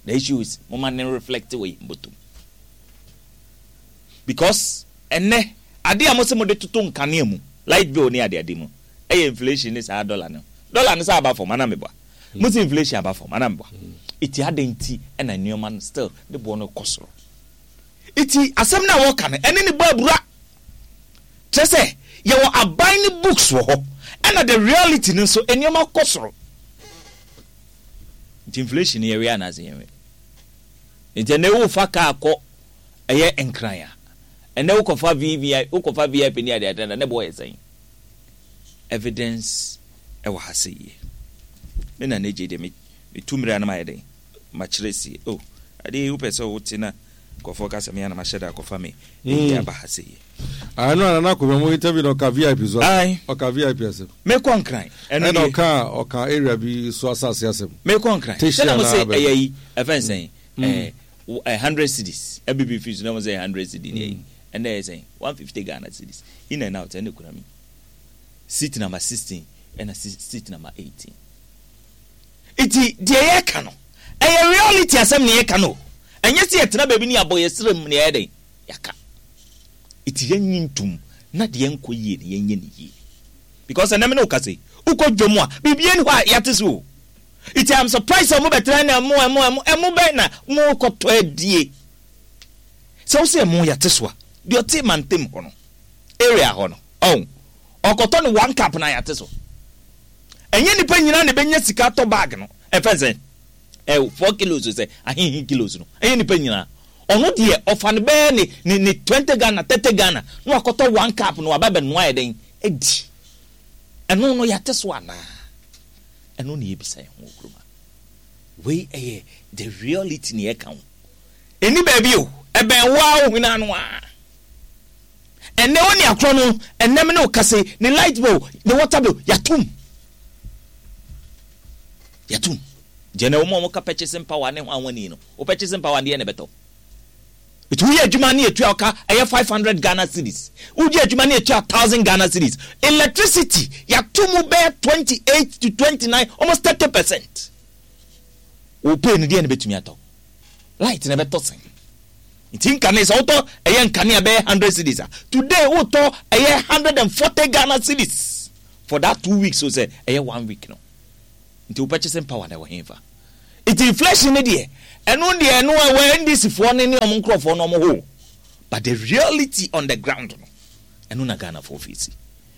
A: the issue is mo ma ne reflect wɔ yɛn bɔtɔm. Because ɛnɛ ade a mo sɛ mo de toto nkanea mu, light bill ne ade ade mu, ɛyɛ inflation ne saa dollar no. Dollar no sɛ aba fam anaa meboa? Mo se inflation aba fam anaa meboa? Eti adɛn nti na nneɛma no still ne boɔ no kɔ soro? Eti asɛm no a wɔka no ɛne ne bɔ abura. Kyerɛ sɛ yɛwɔ aban no books wɔ hɔ ɛna the reality no nso nneɛma kɔ soro. Nti inflation no yɛwe anaasɛ yɛnwe? Nti ɛnɛ wofa kaa kɔ ɛyɛ Nkran a, ɛnɛ wokɔfa VVI wokɔfa VIP ne adeade na ne boɔ yɛ sɛn? Evidence ɛwɔ ha sɛ yie. Me nana Adjei deɛ me metu mmira na mayɛ dɛn makyerɛ sie oh adeɛ yi wopɛ sɛ wote na nkurɔfoɔ ka sɛ me a na mahyɛ da akɔfa me ɛyi aba ha sɛ yie.
B: Ah, ɛno a nana akɔmia mo interview na ɔka VIP so
A: asɛm.
B: Ɔka VIP asɛm.
A: Mekɔ Nkran.
B: Ɛno nie. Ɛna ɔka ɔka area bi so asase asɛm.
A: Mekɔ Nkran. Sɛ na mo se ɛyɛ yi ɛfɛn sɛn ɛɛ eh, 100 cedis. Ɛbibi fi so na mo sɛ 100 cedi ne ɛyi. Ɛnna ɛyɛ sɛn 150 Ghana cedis. In and out ɛna ekura mi. Seat number 16 ɛna seat number 18. Nti deɛ yɛka no ɛyɛ reality asɛm na yɛka no. Ɛnyɛ sɛ yɛtena baabi ne yɛabɔ yɛ serɛ mu na yɛayɛ dɛn yɛaka. Nti yɛnye ntom na deɛ ɛnkɔ yie no yɛnyɛ no yie. Because ɛnɛ me ne wo kasa yi, wokɔ dwam a biribiara nni hɔ a yɛate so o. Nti I'm surprised sɛ wɔbɛtena na ɛmo ɛmo ɛmo ɛmo bɛn na mokɔtɔ adie. Sɛ wo sɛ ɛmo yɛate so a, deɛ ɔte mantam hɔ no, area hɔ no, ɔho, ɔkɔtɔ no one cup na yɛate so. Ɛnyɛ nnipa nyinaa na ɛbɛnya sika atɔ bag no, ɛfɛn sɛ ɛ 4 kilos sɛ ahehe kilos no, ɛnyɛ nnipa nyinaa. Ɔno deɛ ɔfa no bɛyɛ ne 20 Ghana, 30 Ghana na wakɔtɔ one cup na waba bɛnoa yɛ dɛn adi. Ɛno no yɛate so anaa? Ɛno na yɛbisa yɛn ho wɔ kurom ha. Wei ɛyɛ the reality na yɛka ho. Ɛni baabi o, ɛbɛn wo ara wo hwene ano ara. Ɛnnɛ wo ne akorɔ no, ɛnnɛ me ne wo kasa yi, ne light bill, ne water bill, yɛatom. Yɛatom. Nti ɛnnɛ wɔn a wɔka purchasing power ne hwan wani no, wo purchasing power deɛ na ɛbɛtɔ. Nti woyɛ adwuma ne yɛtua wo ka ɛyɛ 500 Ghana cedis. Wogye adwuma ne yɛtua 1000 Ghana cedis. Electricity, yɛato mu bɛyɛ 28 to 29, almost 30%. Wo pay no deɛ na ɛbɛtumi atɔ. Light na ɛbɛtɔ sɛn? Nti nkane sɛ wotɔ ɛyɛ nkanea bɛyɛ 100 cedis a, today wotɔ ɛyɛ 140 Ghana cedis. for that 2 weeks o sɛ ɛyɛ one week no. Nti wo purchasing power na ɛwɔ hefa? Nti inflation ne deɛ, ɛno deɛ, ɛno ɛwɔ NDC foɔ ne ɔmo nkurɔfoɔ no ɔmo hɔ, but the reality on the ground no, ɛno na Ghana foɔ face,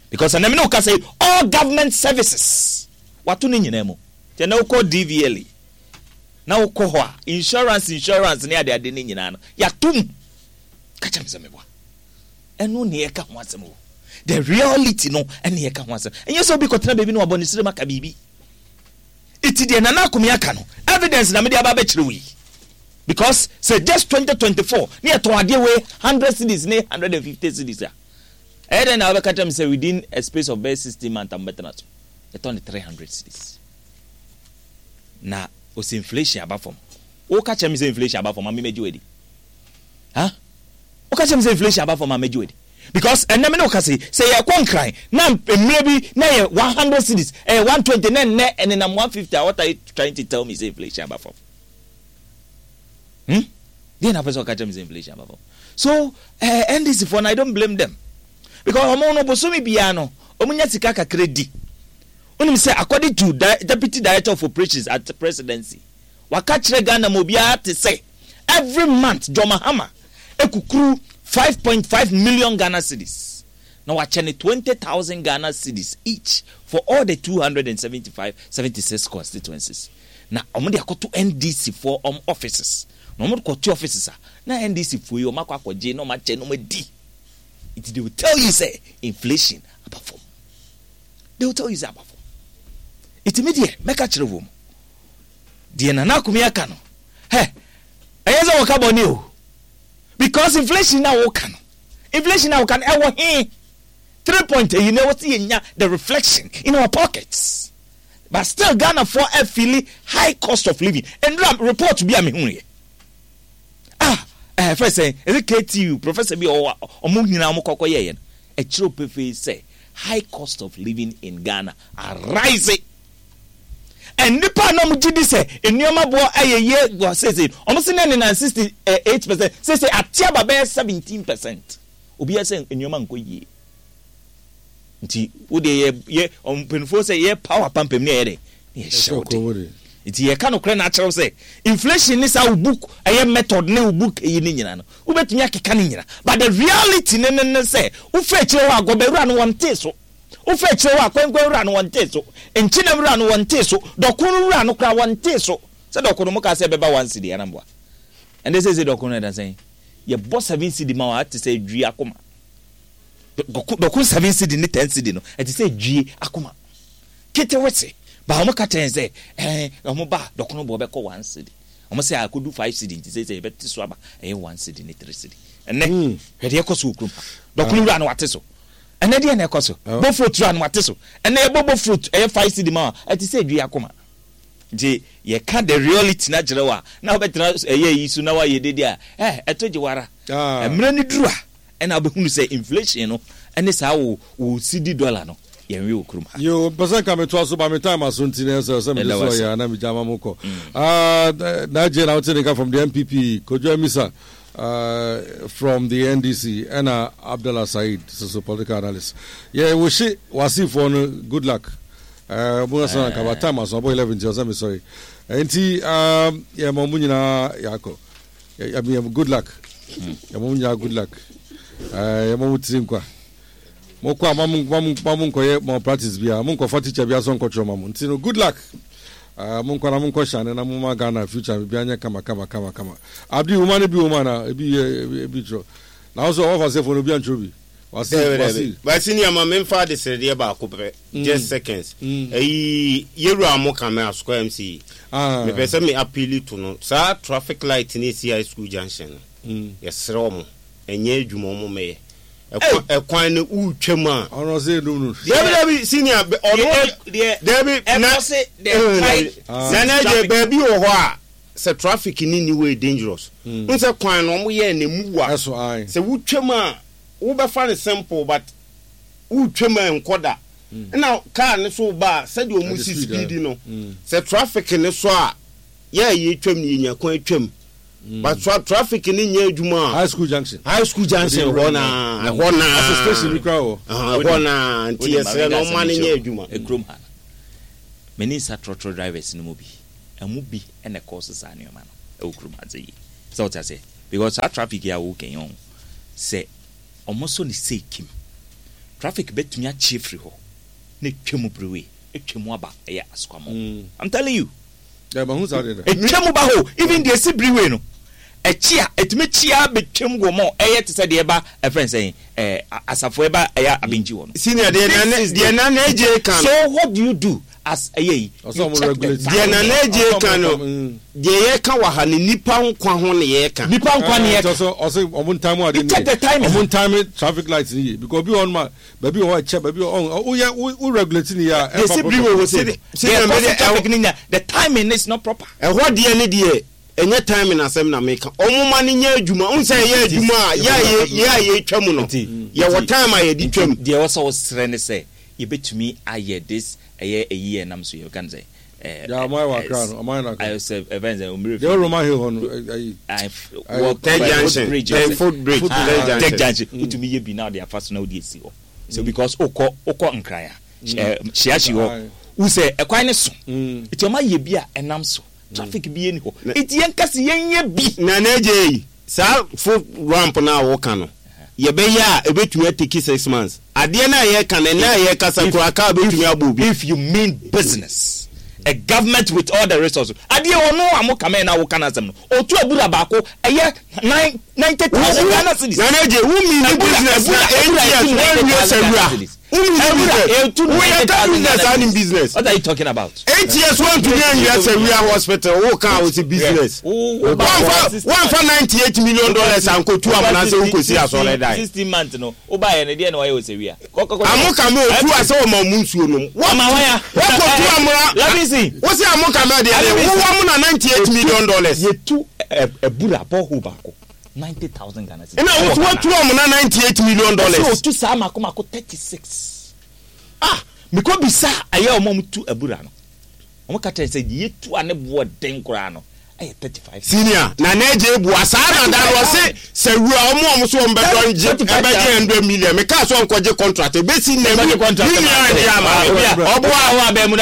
A: because ɛnɛ mi ne wo ka sɛ all government services wato ne nyinaa mu. Nti ɛnɛ wokɔ DVLA na wokɔ hɔ a, insurance ne adeade ne nyinaa no yɛato mu. Ka kyerɛ me sɛ meboa. Ɛno ne yɛka ho asɛm o, the reality no ɛne yɛka ho asɛm. Ɛnyɛ sɛ obi kɔtena baabi na wabɔ ne srem aka biribi. Iti deɛ Nana Akomi aka no, evidence na mede aba abɛkyerɛ wo yi, because sɛ just 2024 ne yɛtɔn adeɛ wei 100 cedis ne 150 cedis a, ɛyɛ dɛn na wobɛka kyerɛ me sɛ within a space of bɛyɛ 16 months a mobɛtena so yɛtɔn ne 300 cedis na ɔsɛ inflation aba fam? Woka kyerɛ me sɛ inflation aba fam a, memɛgye wadi ha? Woka kyerɛ me sɛ inflation aba fam a, mɛgye wadi? Because ɛnɛ me ne woka sɛ yɛkɔ Nkran na mmerɛ bi na yɛ 100 cedis, ɛyɛ 120, na ɛnnɛ ɛnenam 150 a, what are you trying to tell me sɛ inflation aba fam? Deɛ na pɛ sɛ ɔka kyerɛ me sɛ inflation aba fam? So NDC foɔ no, I don't blame them, because ɔmo no bosome biara no ɔmo nya sika kakra di. Wonim sɛ according to deputy director of operations at presidency, waka kyerɛ Ghana ma obiara te sɛ every month John Mahama ekukuru 5.5 million Ghana cedis na wakyɛ ne 20,000 Ghana cedis each for all the 275 76 constituencies, na ɔmo de akɔto NDC foɔ ɔmo offices. Na ɔmo de kɔto offices a, na NDC foɔ yi ɔmo akɔ akɔgye na ɔmo akyɛ na ɔmo adi. Nti they will tell you sɛ inflation aba fam. They will tell you sɛ aba fam. Nti mi deɛ mɛka kyerɛ wɔn deɛ Nana Akomi aka no, hɛ, ɛyɛ sɛ wɔka bɔne o, because inflation na wɔka no, inflation na wɔka no ɛwɔ he? Three point eyi na ɛwɔ sɛ yɛnya the reflection in our pockets, but still Ghana foɔ afeel high cost of living. Ndura report bi a mehu yɛ ah, fɛ sɛ ɛsɛ KTU professor bi a ɔwɔ ɔmo nyinaa ɔmo kɔkɔ yɛyɛ no, ɛkyerɛw pefee sɛ high cost of living in Ghana arise, and nipa a na ɔmo gye di sɛ nneɛma boɔ ɛyɛ yie wɔ sese, ɔmo si ne nenam 68%, sese ate aba bɛyɛ 17%. Obiara sɛ nneɛma nkɔ yie, nti wo deɛ yɛ mpanyinfoɔ sɛ yɛ power pampam ne yɛ dɛ ne yɛ hyɛ wo de. Nti yɛka nokorɛ na akyerɛw sɛ inflation ne saa wo book ɛyɛ method ne wo book eyi ne nyina no, wobɛtumi akeka ne nyina, but the reality ne sɛ wofa akyire hɔ a, gɔbɛwura no wɔntee so, wofa akyire hɔ a, kwankwan wura no wɔntee so, nkyenam wura no wɔntee so, dɔkono wura no koraa wɔntee so. Sɛ dɔkono mo kaa sɛ ɛbɛba 1 cedi anamboa, ɛnde sɛ dɔkono ɛda sɛn? Yɛbɔ 7 cedi ma wa, ɛte sɛ edwie akoma. Dɔko 7 cedi ne 10 cedi no, ɛte sɛ edwie akoma ketewese ba. Wɔn ka kyerɛ sɛ wɔn ba dɔkono bɔ bɛkɔ 1 cedi, wɔn sɛ akodu 5 cedi, nti sɛ yɛbɛte so aba ɛyɛ 1 cedi ne 3 cedi. Ɛnɛ hwɛ deɛ ɛkɔ so wɔ kurom ha. Dɔkono wura no wate so. Ɛnɛ deɛ na ɛkɔ so, bofrot wura no wate so. Ɛnɛ yɛbɔ bofrot ɛyɛ 5 cedi ma wa, ɛte sɛ edwie akoma. Nti yɛka the reality na kyerɛ wa na wobɛtena ɛyɛ yi so na wayɛ dede a ɛto gye wara. Mmerɛ no duru a, ɛna wobɛhunu sɛ inflation no ɛne saa wo cedi dollar no yɛnwe wɔ kurom ha.
B: Yo, mpɛ sɛ nka metoa so ba me time aso, nti na ɛsɛ sɛ mede so ɔyɛ na megya ma mo kɔ. Na agye na wote ne nka from the NPP, Kojo Amisa from the NDC, ɛna Abdallah Said so political analyst. Yɛ wohye wasifoɔ no good luck. Mo sɛ nka ba time aso, abɔ 11, nti ɔsɛ me sɔre. Nti yɛ ma mo nyinaa yɛakɔ. Yɛ good luck. Yɛ ma mo nyinaa good luck. Yɛ ma mo tiri nkwa. Mokɔ a, ma mo nkɔyɛ malpractice bia, mo nkɔfa teacher bia so nkɔtwerɛ ma mo. Nti no good luck. Monkɔ na monkɔ hyane na moma Ghana future biribiara nyɛ kama kama kama kama. Abdi, woma no bi wɔ mu anaa? Ebi yɛ ebi twerɛ. Na wo so ɔwɔ fa sɛfo no obi antwerɛ bi. Wasi wasi.
D: Basi ni ama memfa adesrɛdeɛ baako pɛ, just seconds. Ɛyi yɛwura mo ka me asokɔ MC. Mepɛ sɛ me appeal to no. Saa traffic light ne esi high school junction no. Yɛsrɛ ɔmo. Ɛnyɛ adwuma ɔmo mɛyɛ. Ɛkwan no wotwa mu a.
B: Ɔno ɔsɛ enum no.
D: Dabi dabi, senior ɔno dabi na na na gye baabi wɔ hɔ a sɛ traffic ni ni way dangerous. N sɛ kwan no ɔmo yɛ na emu wa. Sɛ wotwa mu a, wobɛfa no simple, but wotwa mu a nkɔ da. Ɛna car ne so ba a, sɛdeɛ ɔmo si speed no, sɛ traffic ne so a, yɛ a yɛtwam no yɛnya kwan twam. But traffic ne nyɛ adwuma a.
B: High school junction.
D: High school junction hɔ naa ɛhɔ naa.
B: Asɛ station bi kura wɔ.
D: Ɛhɔ naa nti yɛsrɛ no ɔma no nyɛ adwuma.
A: Ekurom ha no, m'ani nsa trɔtrɔ drivers no mu bi, ɛmu bi na ɛkɔɔ so saa nneɛma no ɛwɔ kurom ha sɛ yie. Sɛ wote aseɛ? Because saa traffic yi a woka yi ɔho, sɛ ɔmo sɔ ne sei kim, traffic bɛtumi akye afiri hɔ na atwa mu brewe, atwa mu aba ɛyɛ Asukwamoo. I'm telling you.
B: Yeah, mahu saa deɛ da.
A: Ɛtwa mu ba hɔ, even deɛ ɛsi brewe no, ɛkye a, ɛtumi kye ara bɛtwam wɔ mɔ, ɛyɛ te sɛ deɛ ɛba, ɛfrɛ no sɛn, ɛɛ, asafo ɛba ɛyɛ Abenkyi hɔ no.
D: Senior, deɛ
A: This
D: Nana,
A: is
D: deɛ
A: the
D: Nana Adjei ka no.
A: So what do you do as ɛyɛ yi?
B: Ɔsɛ
A: You
B: ɔmo
A: check the
B: regulate.
D: Deɛ
A: timing.
D: Nana Adjei
B: Ɔsɛ
D: ka
B: ɔmo
D: no, deɛ yɛka wɔ ha no, nnipa nkwa ho na yɛka.
A: Nnipa nkwa na
B: Ɛɛ,
A: yɛka.
B: ɔsɛ ɔsɛ ɔmo ntime ade
A: You
B: no
A: check
B: yie.
A: the timing.
B: Ɔmo ntime traffic light no yie because obi wɔ hɔ nom a baabi wɔ hɔ a ɛkyɛ baabi wɔ hɔ woyɛ wo wo regulate no yie a
A: Deɛ
B: ɛmfa
A: ɛsi
B: problem.
A: brewe hɔ sei no,
D: Senior,
A: deɛ
D: me
A: ɛkɔ
D: deɛ
A: so traffic no nya, the timing is not proper.
D: Ɛhɔ deɛ ne deɛ ɛnyɛ timing asɛm na meka. Ɔmo ma no nyɛ adwuma. Wohu sɛ ɛyɛ adwuma a yɛ a yɛ yɛ a yɛtwa mu no, yɛwɔ time a yɛde twa mu.
A: Deɛ ɛwɔ sɛ wosrɛ ne sɛ yɛbɛtumi ayɛ this ɛyɛ ɛyi a ɛnam so yi yɛka no sɛ ɛɛ
B: Deɛ ɔmo ayɛ wɔ Accra no, ɔmo ayɛ no Accra.
A: Ayɛ sɛ ɛfɛn sɛ omire
B: Deɛ ɛwɔ Roman Hill hɔ no, ɛyi.
A: Wɔ
D: Third junction,
A: bridge
D: third foot bridge, third junction.
A: Third junction, wotumi yɛ bi na ɔde afa so na wode asi hɔ. So because wokɔ wokɔ Nkran a, Hyiahyi hɔ, wohu sɛ ɛkwan no so, nti ɔmo ayɛ bi a ɛnam so. Traffic bi nni hɔ. Nti yɛnka se yɛnyɛ bi.
D: Nana Adjei, saa foot ramp no a woka no, yɛbɛyɛ a ɛbɛtumi ateki 6 months. Adeɛ no a yɛreka no, ɛnnɛ a yɛrekasa koraa car bɛtumi abɔ obi.
A: If you mean business, a government with all the resources, adeɛ ɔno a mo kame na woka n'asɛm no, ɔtu abura baako ɛyɛ nine 90,000 Ghana cedis.
D: Nana Adjei, wo mean business na 8 years woanwie sawura. Wo mean business. Woyɛ ka business a nim business.
A: What are you talking about?
D: 8 years woantumi anwia sawura hospital wo ka a wo se business. Woamfa woamfa $98 million ankotu amena sɛ wokɔsi asɔredan.
A: 16 months no wobaeɛ no deɛ na wayɛ wɔ sawia.
D: Amo kame otu a sɛ ɔma ɔmo nsuo nom. Wakɔtu amena.
A: Labisi.
D: Wo se amo kame deɛ deɛ wowɔ mo na $98 million.
A: Yɛtu abura borehole baako 90,000 Ghana cedis.
D: Ɛna wo so watu amena $98 million.
A: Ɛsɛ otu saa mako mako 36. Ah, mekɔ bisa ɛyɛ ɔmo a ɔmo tu abura no. Ɔmo ka kyerɛ sɛ deɛ yɛtu a ne boɔ den koraa no ɛyɛ 35.
D: Senior, Nana Adjei bua saa na da no ɔse sɛ wura ɔmo a ɔmo so ɔmo bɛdɔ ngye ɛbɛgye 100 million me kaa sɛ ɔnkɔgye contract ebesi nnɛ me nua ngye ama me ɔboa ɔboa ɔboa.